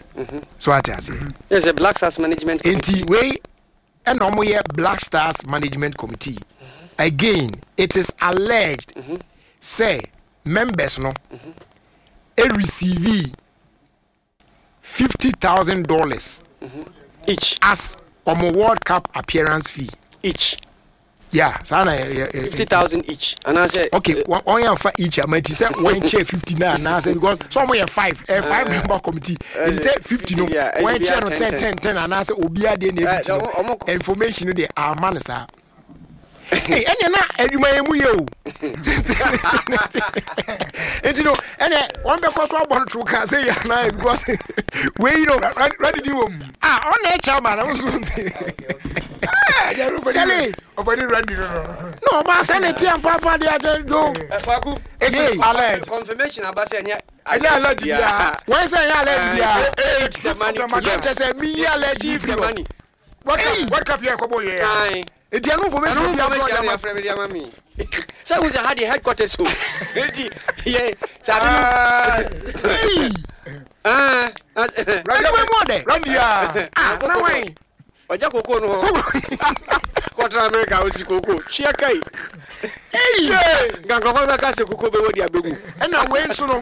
so, ate ase? Yes, sɛ Black Stars Management Committee. Nti wei ɛna ɔmo yɛ Black Stars Management Committee. Again, it is alleged sɛ members no e receive fifty thousand dollars each as ɔmo World Cup appearance fee. Each? Yeah, saa na yɛ yɛ fifty thousand each anaasɛ? Okay, wɔn wɔn yɛn fa each ama ti sɛ wɔn kyɛ fifty na anaasɛ, because sɛ wɔn yɛ five, ɛ five member committee, eti sɛ fifty no, yeah, wɔn ɛdi kyɛ no biara ten ten ten anaasɛ obiara deɛ na Eh, fifty no. ɔmo- ɔmo- Information no deɛ ama no saa. Hey, ɛnna na adwuma yɛn mu yɛ o, nti no ɛnna wɔn bɛ kɔ so abɔ no toro kan sɛ yɛ anan, because wei no Ready di wɔ mu. Ah, ɔna ɛkyɛ ama na nso Kale. Ɔbɛdi ready no no. Na ɔba sɛ ne tia mpaapa de ade do. Kwaku, It is Hey. alleged. confirmation aba sɛ ɛnyɛ Ɛnyɛ alleged biara. Wɔn sɛ ɛnyɛ alleged biara. Take the money to them. Kyɛ sɛ mi yi alleged Receive firi the hɔ. money. World Hey. Cup, World Cup yɛ kɔbɔ yɛ. Aye. Eti ɛnu information Ɛno bi afɔ information ɔdi na ama. yɛfrɛ me de ama me sɛ wo sɛ ha deɛ headquarters o, nti yɛ sɛ ade no Hey! Ah, ah, Ɛnu bɛ mu ɔdɛ. Randy a. Ah, na wɔn. Ɔgya koko no hɔ kɔtena Amerika, wosi koko hwea kai. Hey! Nka nkurɔfoɔ bɛka sɛ koko bɛwɔ de abɛgu. Ɛna wei nso no,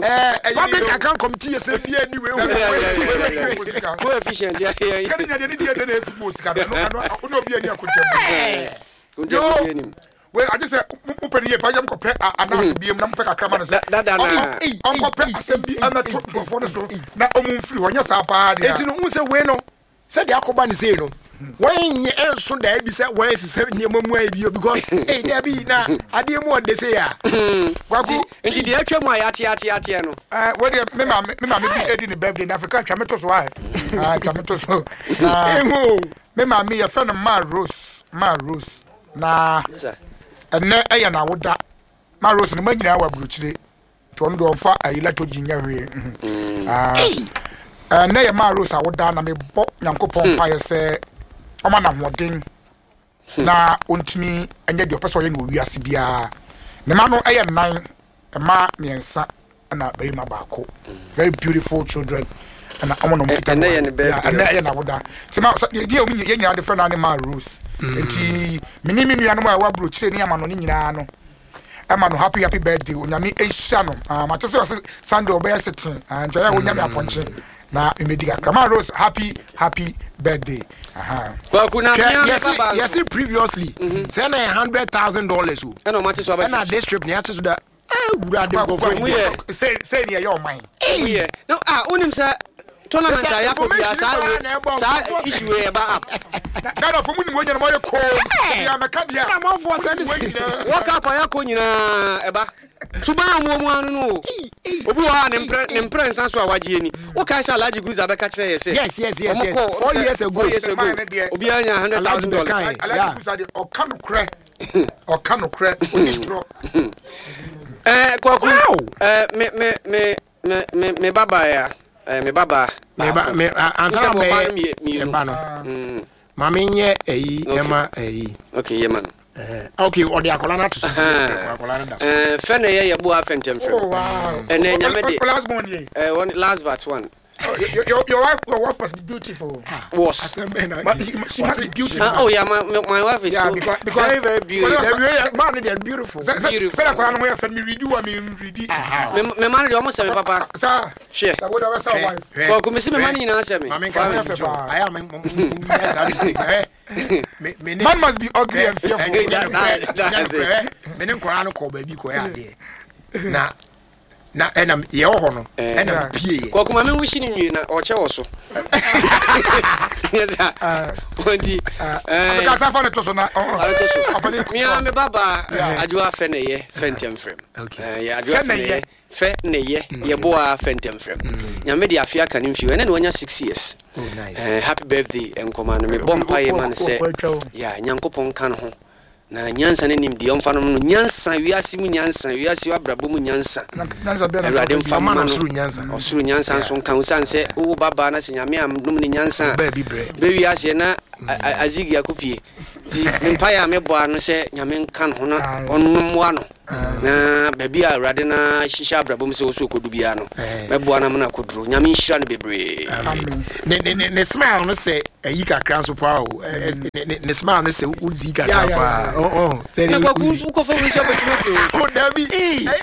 ɛɛ Public Account Committee yɛ sɛ bia ni wei Yeah, yeah, yeah, yeah, wo. yeah. Coefficient yɛ yɛ Sika ni nya deɛ ne deɛ na esu mu sika no ɛno ɔno obi ani akontɛm. Yo. Anim. Wei agye sɛ mo pɛ ne yie pa yɛ mo kɔpɛ anaasɛ biem na mo pɛ kakra ma no sɛ Da- da- da na. ɔnkɔpɛ asɛm bi ɛmɛto nkurɔfoɔ no so na ɔmo mfiri hɔ, nyɛ saa paa deɛ. Eti no n sɛ wei no, sɛdeɛ akɔba ne sei no, wɔn nyɛ ɛnso daa bi sɛ wɔn esisɛ nneɛma mu ayɛ bi o, because ee dabi na adeɛ mu ɔde se ya. Kwaku. Nti deɛ atwa mu a yɛate ate ateɛ no. Ɛɛ wei deɛ, me maame me maame bi edi ne birthday na Afrika twa me to so ayɛ, aa twa me to so na Ehu. Me maame yɛfrɛ no Ma Rose, Ma Rose, na ɛnɛ ɛyɛ n'awoda. Ma Rose no ma nyinaa wɔ aburokyire nti ɔno deɛ ɔmfa ayi lato gyi nyɛ hwee. mhm. Ah, ɛnɛ yɛ Ma Rose awoda na mebɔ Nyankopɔn mpaeɛ sɛ ɔma no ahoɔden na ɔntumi ɛnyɛ deɛ ɔpɛ sɛ ɔyɛ no wɔ wiase biara. Ne ma no ɛyɛ nnan, mmaa mmiɛnsa ɛna barima baako, very beautiful children, ɛna ɔmo na ɔmo kita. Ɛnɛ yɛ ne birthday. Yeah, ɛnɛ ɛyɛ n'awoda nti ma sɛ deɛ ɔmo yɛn nyinaa de frɛ no ne Ma Rose, nti me ne me nuanom a ɛwɔ aburokyire ne ama no ne nyinaa no ɛma no happy happy birthday. Onyame ehyia no. Ah, mate sɛ ɔsɛ Sunday ɔbɛyɛ sitting. Ah, nti ɔyɛ a onyame apɔnkye na mmedi kakra. Ma Rose, happy happy birthday. Aha. Kwaku, na Hwɛ, mea me yɛsi baba nso yɛsi previously sɛ na yɛ hundred thousand dollars o. Ɛna ɔmate so Ɛna abɛtwe. district ni ate so da ɛwura de nkɔfo Mu yɛ. sɛ sɛ ni ɛyɛ ɔman. Yɛ no, ah, wonim sɛ tournament a Sɛ yɛakɔ bia information saa paa wei- na ɛbɔ saa nkurɔfoɔ. issue wei ɛba up. Ghana fo mu ni mo nyina mo yɛ koom deɛ mɛka deɛ. Ɛna amanfoɔ sɛ ne Mo nyinaa. World Cup a yɛakɔ nyinaa ɛba suban a ɔmo mu ano no o, obi wɔ hɔ a ne mprɛ ne mprɛ nsa so a wagye ani. Wokae sɛ Alhaji Guza bɛka kyerɛ yɛ sɛ Yes, yes, yes, ɔmo yes. kɔɔ- Four sɛ- years ago. four years ago Man ne deɛ- obiara nya hundred Alhaji thousand dollars. bɛkae. Alhaji Yeah. Kusa deɛ, ɔka nokorɛ, ɔka nokorɛ, ɔni torɔ. Ɛɛ Kwaku, Wow. ɛɛ me me me me me me baba ya, ɛɛ me baba Me ba me a- ansa Wosɛ na mo ba no bɛyɛ mie- mmienu. ɛba no, maame nyɛ ɛyi ɛma ɛyi. Okay, yɛ ma no. Ɛɛ okay, ɔde akɔla no ato so ti akɔla no da so. Ɛɛ fɛ na ɛyɛ yɛboa afɛntɛmfrɛm. Oh wow. Ɛnɛ Nyame de O last born ye. ɛɛ one last but one. Oh, your, your, your wife your wife must be beautiful. Was Asɛm bɛn na But he- she must be beautiful. Ah, oh yeah, my my my wife is Yeah, so because- because- very very beautiful. because- Dabi, maa no deɛ beautiful. Sɛ sɛ Beautiful. sɛ akwadaa no ho yɛ fɛ, mi redi wa mi redi. Me me ma no deɛ, ɔmo sɛ me papa. Saa. Hwɛ. Na wo de bɛ sɛ wife. Hwɛ, Kwaku, mesi me ma hwɛ. no nyinaa sɛ me. Maame nka sɛ Hwɛ. nkyɛw ayɛ a me mo mo nyɛ saa mistake na hɛ me me ne Man must be ugly and fearful. Ɛ, ɛ, That- that's it. me ne nkɔla no kɔ baabi kɔyɛ adeɛ na na ɛna yɛwɔ hɔ no, ɛna mepie yɛ. Kwaku, ma me wusi ne nwie na ɔkyɛ wɔ so. Yes, sir. Nti ɛɛ Abeka sa fa ne to so na. ɔno so. Ɔpɛni. Mia me baba Adwoa fɛ ne yɛ fɛntɛmfrɛm. Okay. Ɛɛ, yɛ Adwoa Fɛ fɛ ne ne yɛ. yɛ fɛ ne yɛ yɛboa fɛntɛmfrɛm. Nyame de afe aka ne mfie, ɛnɛ na wanya six years. Oh, nice. Ɛɛ, happy birthday nkɔma no. Mebɔ mpaeɛ ma no sɛ Ɔkɔ atwa o. ya Nyankopɔn ka no ho na nyansa ne nimdeɛ ɔmfa no no nyansa, wiase mu nyansa, wiase abrabɔ mu nyansa. Nyansa bɛn na Awurade mfa Ɔma mma no no. ɔsoro nyansa. Ɔsoro nyansa nso nka wo sane sɛ wowɔ babaa na sɛ Nyame anom ne nyansa a Baabi brɛ. bɛwi aseɛ na a- a- azigi akɔpie. Nti mpaeɛ a mebɔ ano sɛ Nyame nka ne ho na ɔnommoa no na baabi a Awurade na hyehyɛ abrabɔ mu sɛ wo so ɔkɔdu biara no, mɛboa no ama no akɔduro. Nyame nhyira no bebree. Ne ne ne ne smile no sɛ ayi kakra nso paa o. Ne ne ne smile no sɛ wodzi kakra paa. Oh oh. Sɛ ne kwaku wokɔfa wo nso abɛtumi afiri wo. Oh dabi.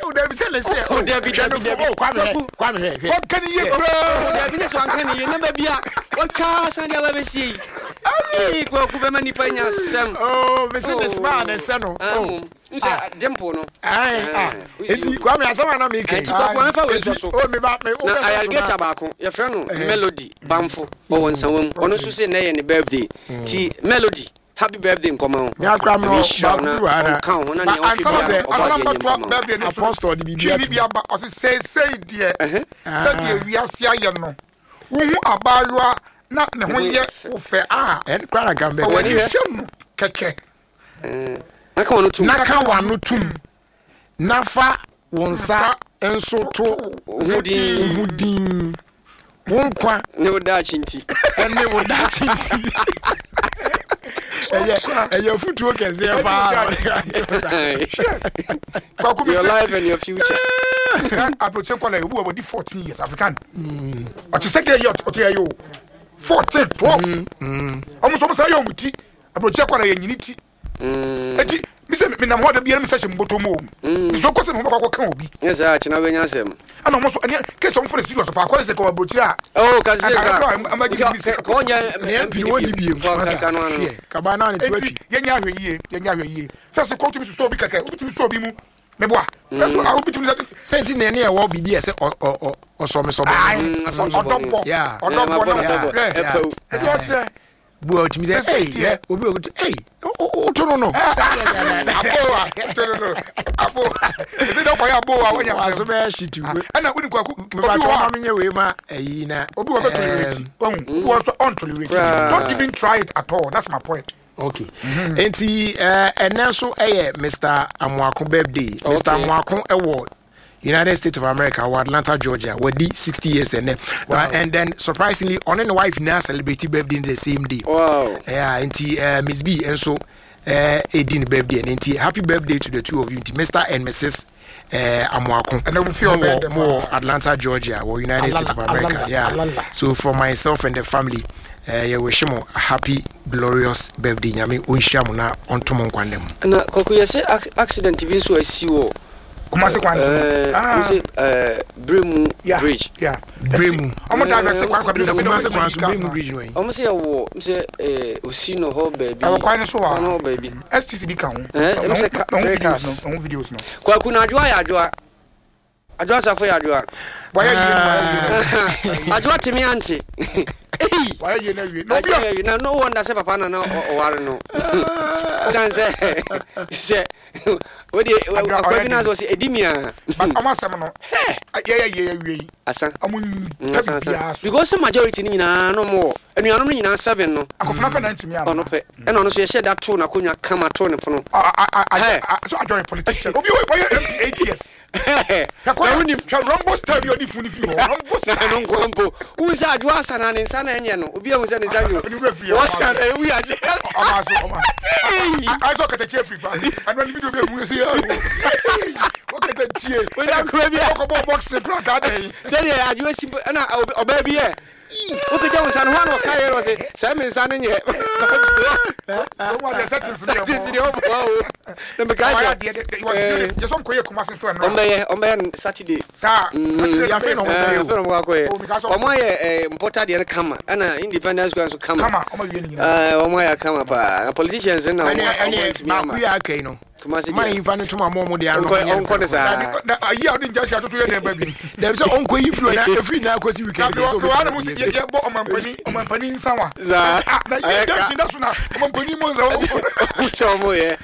Oh dabi sɛ ne sɛ. Oh dabi dabi dabi. Oh Kwame hwɛ Kwame hwɛ hwɛ. Wɔka ne yie koraa. Oh dabi ne sɛ wanka ne yie na baabi a wɔtwa san de aba bɛsie yi. Ee Kwaku bɛma nipa nya asɛm. Oh mese ne smile ne sɛ no. Oh. Nsɛ dimple no. Ayi ah. Eti Kwame asɛm a na mi kɛ. Eti Kwaku amefa wei nso so. Oh mi ba mi na ayarigata baako yɛfrɛ no Melody Bamfo ɔwɔ Nsawam. Ɔno nso sɛ nnɛ yɛ ne birthday. Ti Melody, happy birthday nkɔma wo. Mi akora mi wɔ baako bi wɔ ha na. Ɔnka wo ho na nea ɔhwɛ biara ɔbɔ adeɛ nyɛ nkɔma wo. Apostle de biribi ato. Bi aba ɔsi seesei deɛ sɛdeɛ wiase ayɛ no wohu abaayewa na ne ho yɛ wo fɛ a. Ɛn kora na nka mbɛ. Fa w'ani hwɛ no kɛkɛ. Naka w'ano tum. Naka w'ano tum. Na fa wo nsa nso to wo ho din. Wo nkwa ne wo daakye nti. Ɛne wo daakye nti. Ɛyɛ ɛyɛ futuo kɛseɛ paa. Your life and your future. Aburokye nkɔla yi obi wɔ wɔdi fourteen years African. Ɔte sɛ gay ɔte yɛ o fourteen twelve. Ɔmo nso ɔmo sɛ ɛyɛ ɔmo ti. Aburokye nkɔla yɛ nyini ti. Eti mi sɛ mi nam hɔ de bi yɛn mi sɛ hyɛ mbɔtɔ mu o. Nso kɔsɛ mi ho bɛkɔ akɔka obi. Nyɛ sɛ akyena bɛnya asɛm. Ɛna ɔmo nso ɛne kesi ɔmo fo ne serious paa kɔlɛsi kɔ aburokyire a. Oh kasi ka ka ka ɔnyɛ ne M P no wɔnni biem. Ka no ano. Kaba naa ne to atwi. Eti yɛnyɛ ahwɛ yie yɛnyɛ ahwɛ yie sɛ sɛ kɔtumi sosɔ obi kɛkɛ obi tumi sɔ obi mu meboa. Sɛ so a obi tumi sɛ. Sɛ nti na ɛne ɛwɔ biribi a ɛsɛ ɔsɔmesɔbɔ. Ɔdɔbɔ ɔdɔbɔ na ɔdɔbɔ ɛdi ɔkyerɛ. Bu a otumi sɛ ɛy yɛ obi a otu ɛy woto no no. Aboa woto no no aboa ebi dɛ ɔkɔyɛ aboa wɔnyɛ asɛm. Waso bɛyɛ hyetu. Ɛna wodi kwaku obi wɔ hɔ a menyɛ wei ma ɛyi na. Obi wɔ bɛ tolerate ɔhu obi wɔ nso ɔntolerate don't even try it at all, that's my point. Okay, nti ɛnɛ nso ɛyɛ Mister Amoako birthday. Mister Amoako ɛwɔ United States of America or Atlanta, Georgia. Wadi sixty years and then, wow. uh, and then surprisingly, on and wife now celebrate birthday in the same day. Wow. Yeah, and uh, Miss B and so uh eighteen birthday and uh, happy birthday to the two of you, Mister and Missus Uh, Amoako. And we feel more, more Atlanta, Georgia, or United Alala, States of America. Alala, yeah. Alala. So for myself and the family, uh, yeah, wish you a happy, glorious birthday. Nyame onhyira mo na ontomo nkwa mu. Na koku yese accident bi so asi wo. Kumasi kwan so. Ah, say eh Bremu Bridge. Yeah. Bremu. Omo direct kwan kwan bi Kumasi kwan so Bremu Bridge no. Omo say wo, say eh osi no ho baby. E kwan so wa. No baby. S T C bi ka ho. Eh, em say videos no, videos no. Kwaku na adwoa ya adwoa. Adwoa safo ya adwoa. Why you no? Adwoa timi ante. Hey. Why you na wie? No bi. Na no wonder say papa na na oware no. San say say we akwa bi na so say edimia. But omo asem no. Ye ye ye wie. Asa. Omo tabi bia so. Because majority ni nyina no mo. Enuanom ni nyina seven no. Akofuna pe na ntimi ama. Ono pe. E na ono so ye hye da to na konwa kama to ne pono. Ah ah so adjoin politician. Obi we M P eight years. Na woni Rambo style bi odi funi fi ho. Rambo style no nkompo. Wo sa adwo asa na ne nsa na enye no. Obi ahu se ne nsa nyo. Wo sa na ewu ya. Ama so ama. I saw katachi free fa. Anu ni video bi emu se ya. Wo katachi. Wo da ko bi. Wo ko bo box kra ka dey. Se dey adwo si na oba bi e. Wo pe ja nsa no ho na o ka ye ro se se me nsa ne nye. Wo wa settings ni o bo o. Na me ka se. Ye so nko ye Kumasi so no. Ombe ombe Saturday. Sa ya fe no mo so. Fe no mo akoye. Omo ye mpota de kama. Na Independence Square so kama. Kama omo wie ni nyina. Eh omo ya kama pa. Na politicians na omo ntimi ama. Ma ku ya kai no. Kumasi. Ma yin fa ne tuma mo mo de ano. Onko ne sa. Na ayi a odi nja sha to ye den ba bi. Dem se onko yi firi na efiri na akosi weekend. Na wa na ye ye bo omampani omampani nsa wa. Na ye da shi da so na omampani mo nsa. Se omo ye.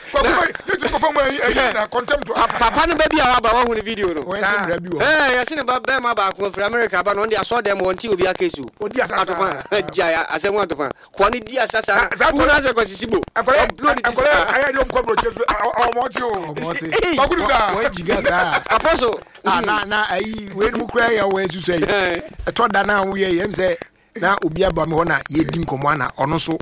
Ye ti ko fa mo ayi na contempt. Papa no ba bi a wa ba wa hu ne video no. We se mra bi wo. Eh ye se ne ba be ma ba ko firi America ba no ndi aso dem won ti obi akesu. Odi asa. Atopa. Ja asem atopa. Ko ne di asa sa. Wo na se ko sisibo. Akore akore ayi de omko bro chefu ọmọ ti o. Ọmọ ti. Ọkùnrin ta. Wọ́n jìgá sáà. Apostle. Ah na na ayi wei mu kura yɛ wɔ esu sɛ yi. Ɛtɔ da na awo yɛ yɛm sɛ na obi aba mi hɔ na yɛ di nkɔmɔ ana ɔno so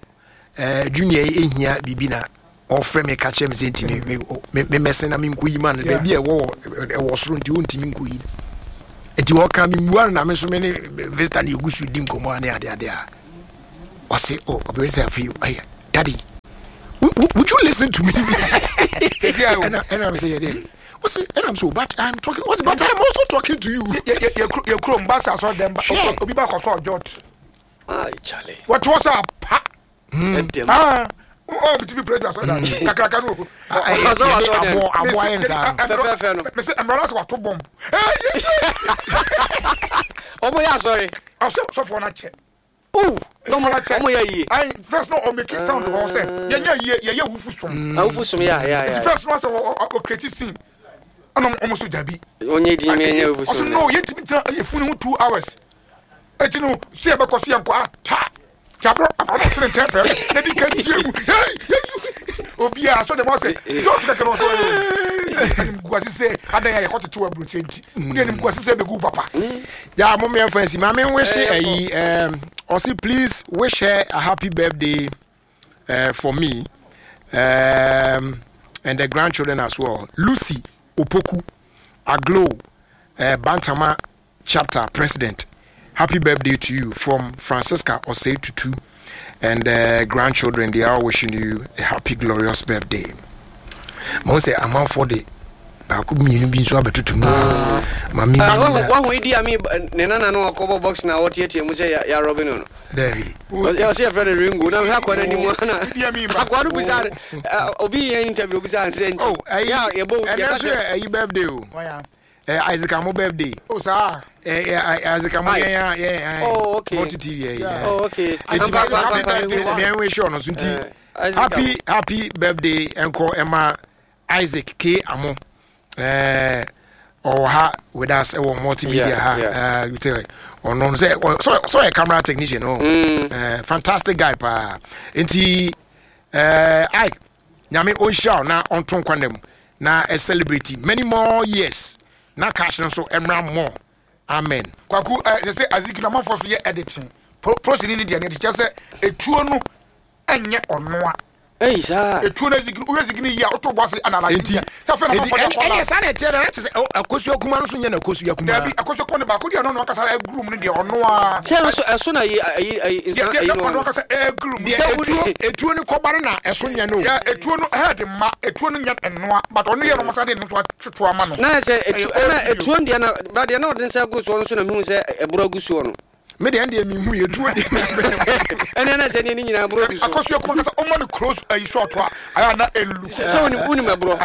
eh, junior yi ehia biribi na ɔfrɛ me ka kyerɛ me sɛ nti me me me mɛsɛn na me nkɔ yi ma no. Yeah. Baabi a ɛwɔ wɔ- ɛwɔ soro nti ɔntumi nkɔ yi, nti ɔka me mmua no na me nso me ne visitor ne yɛgu so di nkɔmmɔ a ne adeade a ɔse, oh, ɔbɛrɛ sɛ afei ɛyɛ daddy, would, would you listen to me? Sɛsi a o. ɛna ɛna me sɛ yɛ dɛ ɔse, ɛna me sɛ, but I'm talking, ɔse, but I'm also talking to you. Yɛ- yɛ- yɛ kuro- yɛ kurom ba sɛ asɔre dɛm ba Hwɛ. obi ba kɔ so ɔjɔt Ah, Charlie. wɔte hɔ sɛ apa. Ɛdɛm. Ah, ɔ bi ti fi pere asɔre dɛm kakraka no o. Ah, ɛyɛ- Ɔsɔ- yɛde ɔsɔ dɛm. aboa aboa yɛ nsaa no. Fɛfɛɛfɛ no. Mese mmara sɛ wato bɔmb. Ɔmo yɛ asɔre. Ɔsɛ sɔfoɔ no akyɛ. Ooh, na ɔmo Sɔfoɔ no akyɛ. ɔmo yɛ yie. Ayi, first no ɔmake sound hɔ sɛ yɛnyɛ yie, yɛyɛ wufu som. Awofo som yɛ a yɛ a yɛ a. First no sɛ ɔcreate scene ɛna ɔmo so dabi. Ɔnyɛ din mi ɛnyɛ awofo Ɔso som. no, yɛntumi tena yɛfunu ho two hours eti no sɛ yɛbɛkɔ so yɛnkɔ ata kyabro abrɔ no sene nkyɛn pɛɛ na di ka tie mu hey Yesu obiara so de mo sɛ jɔn kɛkɛ no ɔsɔ anim guase sɛ adan a yɛkɔ tete wɔ aburokyire nti wode anim guase sɛ bɛgu papa. Ya mo me fancy ma me wish Eh, ayi, um ɔse please wish her a happy birthday uh, for me um and the grandchildren as well. Lucy Opoku Aglo, uh, Bantama chapter president, happy birthday to you from Francisca Osei Tutu and uh, grandchildren. They are wishing you a happy glorious birthday. Mo sɛ amanfoɔ de baako mmienu bi nso abɛtoto mu ma me. Ah, wahu wahu Idi Amin ne nana no ɔkɔbɔ box na ɔteatea mu sɛ yɛ yɛarɔbe no no. Dabi. Ɔsɛ ɔsɛ yɛfrɛ no Ringo na mehwɛ akɔa no anim ana Idi Amin ba. akɔa no bisa no, obi yɛ interview obisa no sɛ nti Oh, ɛyi yɛ a yɛbɔ ɛnɛ yɛka nso sɛ yɛ ɛyi birthday o. Waya. Ɛ Isaac Amo birthday. O saa. Ɛ ɛ Isaac Amo. Aye. Yɛn yɛn yɛn Oh, okay. Multi T V yɛ. Yeah. Oh, okay. Eti Ampa, ampa, ampa, happy mehu sɛ- mi ɛn wish ɔno so nti Eh, Isaac happy happy birthday ɛnkɔ ɛma Isaac K Amo. Ɛɛ ɔwɔ ha with us ɛwɔ multimedia Yeah, ha. yeah. Ɛɛ you tell ɔno no sɛ ɔ- sɛ sɛ ɔyɛ camera technician o. Mm. Ɛɛ fantastic guy paa, nti ɛɛ Ike, Nyame ɔnhyira wo na ɔnto nkwa nam na ɛ celebrate many more years na cash no nso ɛmra more. Amen. Kwaku, ɛ sɛ sɛ Aziki na amanfoɔ so yɛ editing Pro- prosini ne deɛ ne kyerɛ sɛ etuo no ɛnyɛ ɔnoa. Ei, saa. Etuo no Aziki no, wohwɛ Aziki no yie a woto bɔ ase analyse Nti deɛ sɛ afei na nti amanfoɔ de ɛne akɔ ɛne la saa na ɛteɛ na kyerɛ sɛ ɛ- akosua kuma no so nyɛ na akosua kuma. Dabi, akɔsɔ kɔn ne baako deɛ ɔno na ɔkasa ɛguru mu no deɛ ɔnoa. Sɛ ɛso ɛso na yi ayi ayi nsa deɛ ayi deɛ no ɔno no. ɔkasa ɛguru mu. Deɛ Sɛ etuo wode- etuo no kɔba no na ɛso nyɛ no o. Yɛ etuo no head ma etuo no nyɛ ɛnoa, but ɔno yɛ no ɔmasa de no nso atoto ama no. Na yɛ sɛ etu Ɛyɛ ɛna old video. etuo deɛ na ba deɛ na ɔde nsa gu soɔ no so na mehu sɛ ɛborɔ gu soɔ no. Me deɛ ɛndeɛ mehu yɛ etuo deɛ. Ɛne ɛna sɛ ne ne nyinaa borɔ gu so. Akɔsua kuma kasa ɔma no close ayi short a ayɛ na elu. Sɛ sɛ wonim wonim ɛborɔ.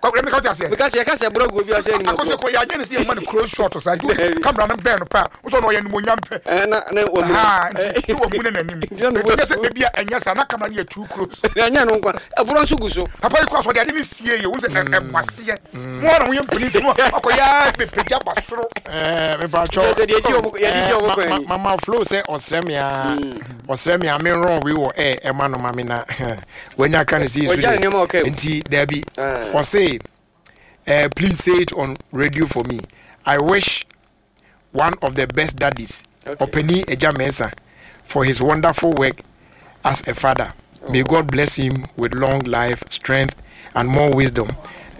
Kɔkɔrɔ mi ka ɔte aseɛ. Because yɛka sɛ ɛborɔ gu obi a sɛ nim Akɔsua ɛborɔ. kuma yɛ anyɛ ne sɛ yɛ ma no close short sa nti camera no bɛn no pɛ a wosɔ no ɔyɛ nimonyam pɛ. Ɛna na wɔmu. Ha, nti ne wɔmu ne n'anim Nti na ne nti nyɛ sɛ bo- ebi a ɛnyɛ saa na camera no yɛ too close. Ɛnyɛ no nkwa ɛborɔ nso gu so. Papa yi kɔ asɔ de ade ne sie yɛ wɔn sɛ ɛkwaseɛ mo ara mo yɛ mpanyin sɛ mo akɔ yɛ bepagya ba soro. Ɛɛ mepatwɔ. Sɛ deɛ gye ɔmo- yɛde gye ɔmo kwan yi. Mama Flo sɛ ɔsrɛ me a ɔsrɛ me a menrɔn wei wɔ ɛ ɛma no ma me na wanya ka no sɛ Yesu Ɔgya ne deɛ. nneɛma a ɔka mu. Nti dabi. Ah. Ɔse eh, please say it on radio for me. I wish one of the best daddies, Okay. Ɔpani Agya Mensa, for his wonderful work as a father. May God bless him with long life, strength, and more wisdom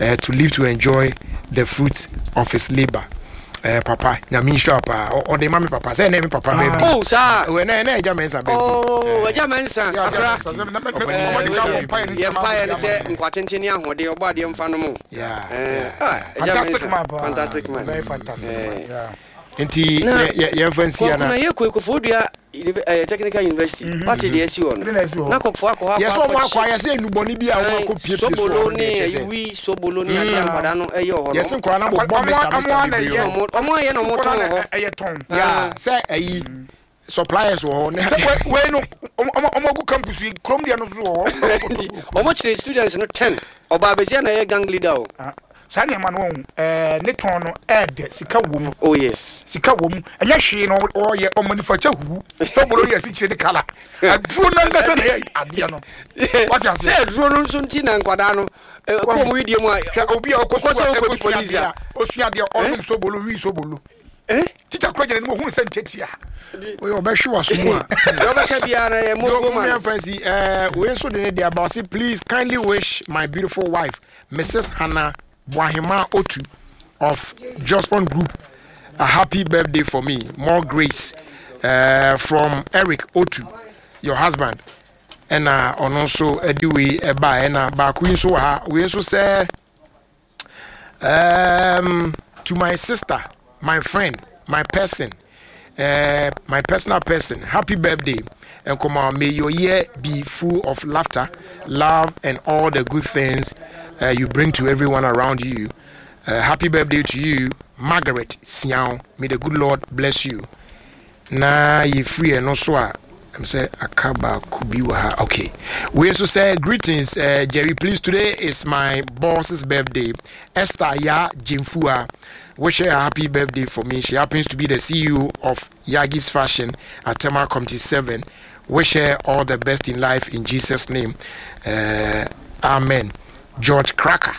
uh, to live to enjoy the fruits of his labor. Uh, papa, Nyame nhyira wo paa. Ɔ- ɔde ma me papa sɛ ɛnɛ me papa birthday. Oh, saa. Ɛwɔ, ɛnɛ ɛnɛ Agya Mensa birthday. Oh, Agya Mensa akora. Yɛ Yɛ mpaeɛ ne sɛ nkwa tenten ne ahoɔden ɔbɔ adeɛ mfa no mu. Yeah, Eh, yeah. ah, Agya Fantastic Mensa, man paa. fantastic man. Very fantastic man, yeah. Nti Na- yɛ- yɛ- yɛmfa nsi Kɔkɔ ana. na yɛ kɔ Koforidua Univ- eh, Technical University wate deɛ asi hɔ Ɛde no na asi hɔ. na kɔkɔfoɔ akɔ hɔ yɛ sɛ ɔmo akɔ akɔkye- ayɛ sɛ enubɔne bi a ɔmo akɔ piepie so sobolo ɔmo ne deɛ kyerɛ sɛ ayiwi sobolo ne adeɛ nkwadaa no ɛyɛ wɔ hɔ no. Yɛsɛ nkɔla no bɔbɔ Ɔmo- mr ɔmo mr ana bebree yɛ. wɔ hɔ. Ɔmo ɔmo ayɛ na ɔmo tɔn wɔ hɔ. Ɛyɛ tɔn. Ya sɛ ɛyi suppliers wɔ hɔ ne Sɛ wei- wei no ɔmo ɔmo ɔmo agu campus yi kurom deɛ no so wɔ hɔ. Nti ɔmo kyerɛ students no ten ɔbaa besia na ɛyɛ gang leader o. Ah, saa nneɛma no wɔn ɛɛ ne tɔn no ɛɛdɛ sika wɔ mu. Oh yes. Sika wɔ mu, ɛnyɛ hwee na ɔyɛ ɔmanufacture huhu sɛ ɔbɔlɔ yɛ asikyire ne kala aduro nankasa na ɛyɛ adeɛ no wate Sɛ aseɛ. aduro no nso nti na nkwadaa no eh, kɔɔ mu widie mu a Hwɛ obi a ɔkɔ Ɔkɔ sɛ sukuu a ɔkɔdi ɛkɔsua polisi adeɛ a a osua adeɛ ɔnom sobolo wi sobolo. Teacher kura gyina ne mu, ohun sɛ ntiatia. Oyɛ ɔbɛhwe w'aso mu a. Deɛ ɔbɛka biara no yɛ mo ma no. Fancy, uh, we nso de ne de aba. Ɔse, "Please kindly wish my beautiful wife, Missus Hannah Boahema Otu of Jospon Group, a happy birthday for me. More grace uh, from Eric Otu, your husband." Ɛna ɔno nso ɛde wei ɛba. Ɛna baako yi nso wɔ ha. Wei nso sɛ, um, "To my sister, my friend, my person, uh, my personal person, happy birthday. And come on, may your year be full of laughter, love, and all the good things uh, you bring to everyone around you. Uh, happy birthday to you, Margaret Siao. May the good Lord bless you." Na yɛfiri ɛno so a, I'm sɛ aka baako bi wɔ ha. Okay, wei nso sɛ, "Greetings, uh, Jerry. Please, today is my boss's birthday, Esther Ya Jemfua. Wish her a happy birthday for me. She happens to be the C E O of Yagis Fashion at Tema Community seven. Wish her all the best in life in Jesus' name. uh, amen George Cracker."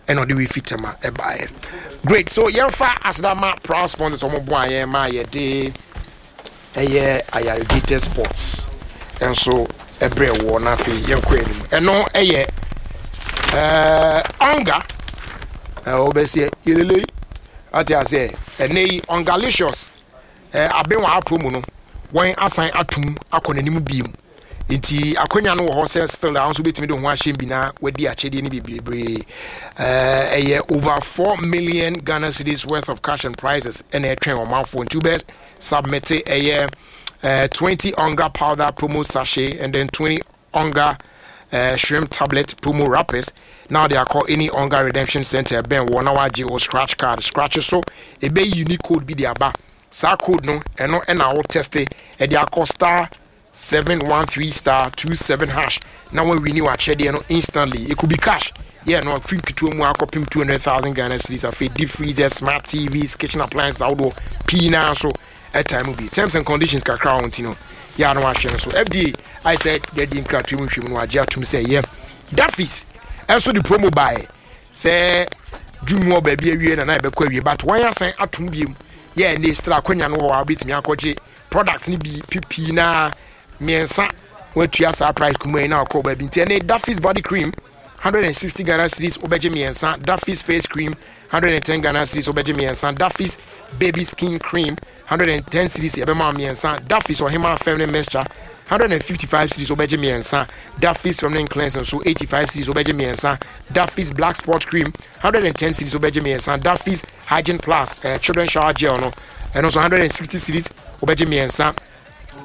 Ɛna ɔde wei fi Tema ɛbaeɛ. Great. So yɛmfa aseda proud sponsors, ɔmo boa yɛn ma yɛde ɛyɛ Ayarigated Sports ɛnso ɛbrɛ wɔ. Na afei yɛnkɔ anim. Ɛno ɛyɛ ɛɛ Ɔnga ɛɛ ɔbɛsiɛ yelele ate aseɛ. Ɛnɛ yi Ɔngalicious ɛɛ abenwa apro mu no, wɔn asan atum akɔ n'anim biem, nti akonnwa no wɔ hɔ sɛ still a nso bɛtumi de ho ahyɛm bi na wadi akyɛdeɛ no bebree. ɛɛ ɛyɛ over four million Ghana cedis worth of cash and prizes ɛna ɛtwɛn ɔmanfoɔ. Nti wobɛ submit ɛyɛ ɛɛ twenty Onga powder promo sachet and then twenty Onga uh, shrimp tablet promo wrappers. Now they are called any Onga redemption center bɛn wɔ na wagye o scratch card. Scratch so ebe unique code bi de aba. Saa code no, ɛno ɛna wo test ɛde akɔ star seven one three star two seven hash na wɔn win w'akyɛdeɛ no instantly. It could be cash, yeah, no afiri nketewa mu akɔpem two hundred thousand Ghana cedis, afei deep freezer, smart T Vs, kitchen appliances ahodoɔ pii naa so ɛtan mu bi. Terms and conditions kakra wɔn ti no yɛ ano ahyɛ no so. F D A ayɛ sɛ yɛde nkratoɔ mu nhwɛ mu no, agye atum sɛ yɛ Dafis ɛnso de promo baeɛ sɛ June mu wɔ baabi awie na na yɛbɛkɔ awie, but wɔn asan atum biem yɛ ɛne stra akonnwa no wɔ hɔ a wobɛtumi akɔgye product no bi pipii na mmiɛnsa watua saa price kuma yi na ɔkɔ baabi. Nti ɛne Dafis body cream, one hundred and sixty Ghana cedis, wobɛgye mmiɛnsa. Dafis face cream, one hundred and ten Ghana cedis, wobɛgye mmiɛnsa. Dafis baby skin cream, one hundred and ten cedis, yɛbɛma mmiɛnsa. Dafis Ɔhema feminine mixture, one hundred and fifty-five cedis, wobɛgye mmiɛnsa. Dafis feminine cleanse nso, eighty-five cedis, wobɛgye mmiɛnsa. Dafis black spot cream, one hundred and ten cedis, wobɛgye mmiɛnsa. Dafis hygiene plus uh, children shower gel no, ɛno nso one hundred and sixty cedis, wobɛgye mmiɛnsa.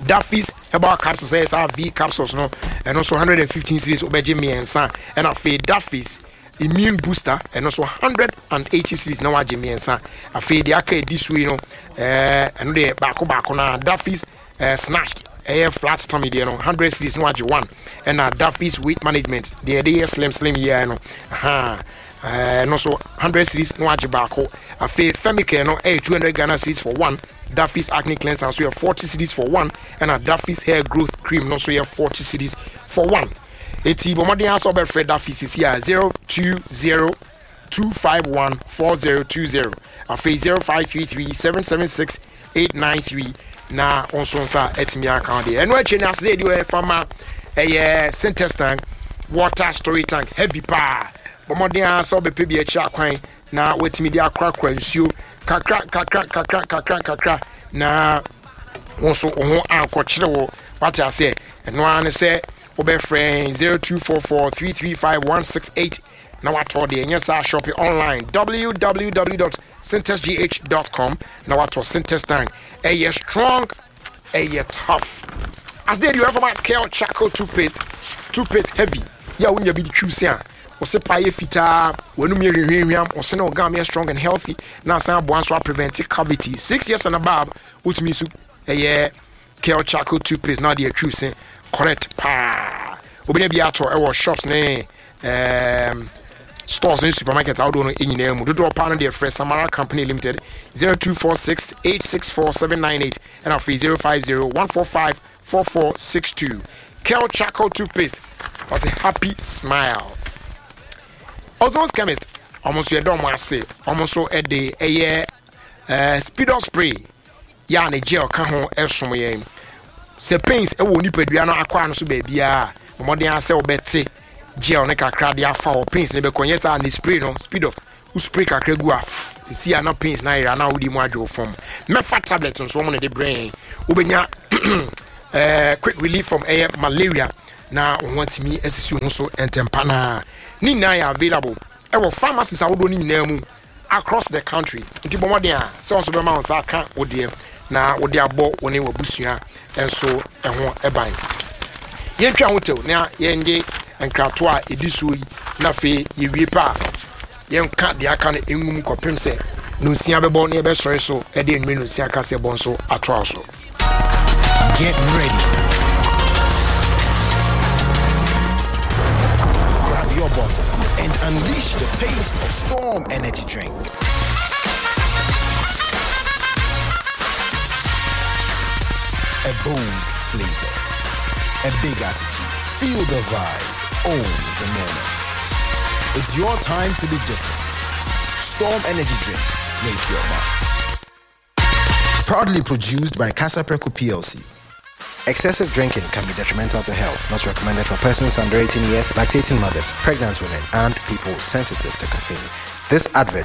Dafis herbal capsules, ɛyɛ saa V capsules no, ɛno nso one hundred and fifteen cedis, wobɛgye mmiɛnsa. Ɛna afei Dafis immune booster, ɛno nso one hundred and eighty cedis na wagye mmiɛnsa. Afei deɛ aka edi so yi no, ɛɛ ɛno deɛ baako baako na Dafis ɛɛ snatched, ɛyɛ flat tummy deɛ no, one hundred cedis na wagye one. Ɛna Dafis weight management deɛ yɛde yɛ slim slim yie no, ɛhan ɛno nso one hundred cedis na wagye baako. Afei Femicare no ɛyɛ two hundred Ghana cedis for one. Dafis acne cleanser nso yɛ forty cedis for one, ɛna Dafis hair growth cream no nso yɛ forty cedis for one. Eti bɔ mmɔden asɛ ɔbɛfrɛ Dafis sisi a zero two zero two five one four zero two zero, afei zero five three three seven seven six eight nine three na wɔn nso nsa atumi aka deɛ. Ɛno akyi no, asede deɛ ɔyɛ fama ɛyɛ Sintex tank, water storage tank heavy paa. Bɔ mmɔden asɛ ɔbɛpɛ bi akyi akwan na watumi de akorakora nsuo kakra kakra kakra kakra kakra na wɔn nso wɔn ho ankɔkyerɛ wɔ wate aseɛ. Ɛno ara ne sɛ wobɛfrɛ zero two four four three three five one six eight na watɔ deɛ. Ɛnyɛ saa, shop online, w w w dot sintexgh dot com na watɔ Sintex tank. Ɛyɛ strong, ɛyɛ tough. As deɛ deɛ ɔyɛ Kel charcoal toothpaste, toothpaste heavy yɛ a wonya bi de twiw se a wɔse pa yɛ fitaa, wɔnum yɛ hwehwehwam, wɔse na ɔgam yɛ strong and healthy na asan aboa nso aprevent cavity. Six years and above, wotumi nso ɛyɛ Kel charcoal toothpaste na ɔde atwiw se correct paa. Wobɛnya bi atɔ ɛwɔ shops ne um, stores ne supermarket ahodoɔ no nyinaa mu. Dodoɔ paa no deɛ, frɛ Samara Company Limited, zero two four six eight six four seven nine eight ɛna afei zero five zero one four five four four six two. Kel charcoal toothpaste, ɔsɛ happy smile. Ozon's Chemist, ɔmo nso yɛdɔ ɔmo ase. Ɔmo nso ɛde ɛyɛ Eh, speedo spray yɛ a ne gel ka ho ɛsom yɛn. Sɛ pains ɛwɔ nipadua no akwaa no so baabiara, mmɔden asɛ wobɛte gel ne kakra de afa hɔ, pains ne bɛkɔ. Nyɛ saa ne spray no, speedo wo spray kakra gu a, sisi a na pains na ayera na wodi mu adwo fam. Mɛfa tablet nso wɔn na de brɛ yɛn. Wobɛnya eh, quick relief from ɛyɛ malaria na wɔn ho atumi asisi ho so ntɛmpa. Naa ne nyinaa yɛ available ɛwɔ pharmacies ahodoɔ no nyinaa mu across the country, nti bɔ mmɔden a sɛ wɔn nso bɛma wɔn nsa aka wo deɛ na wode abɔ wo ne w'abusua nso ho ban. Yɛntwa ho tew na yɛngye nkratoɔ a ɛdi soɔ yi, na afei yɛwie pa a, yɛnka deɛ aka no ngum kɔpem sɛ nonsia bɛbɔ na yɛbɛsɔre so de anwummerɛ nonsia kaseɛ bɔ nso atoa so. Get ready. Grab your bottle and unleash the taste of Storm Energy Drink. A bold flavor, a big attitude. Feel the vibe, own the moment. It's your time to be different. Storm Energy Drink, make your mark. Proudly produced by Kasapreko P L C. Excessive drinking can be detrimental to health. Not recommended for persons under eighteen years, lactating mothers, pregnant women, and people sensitive to caffeine. This advert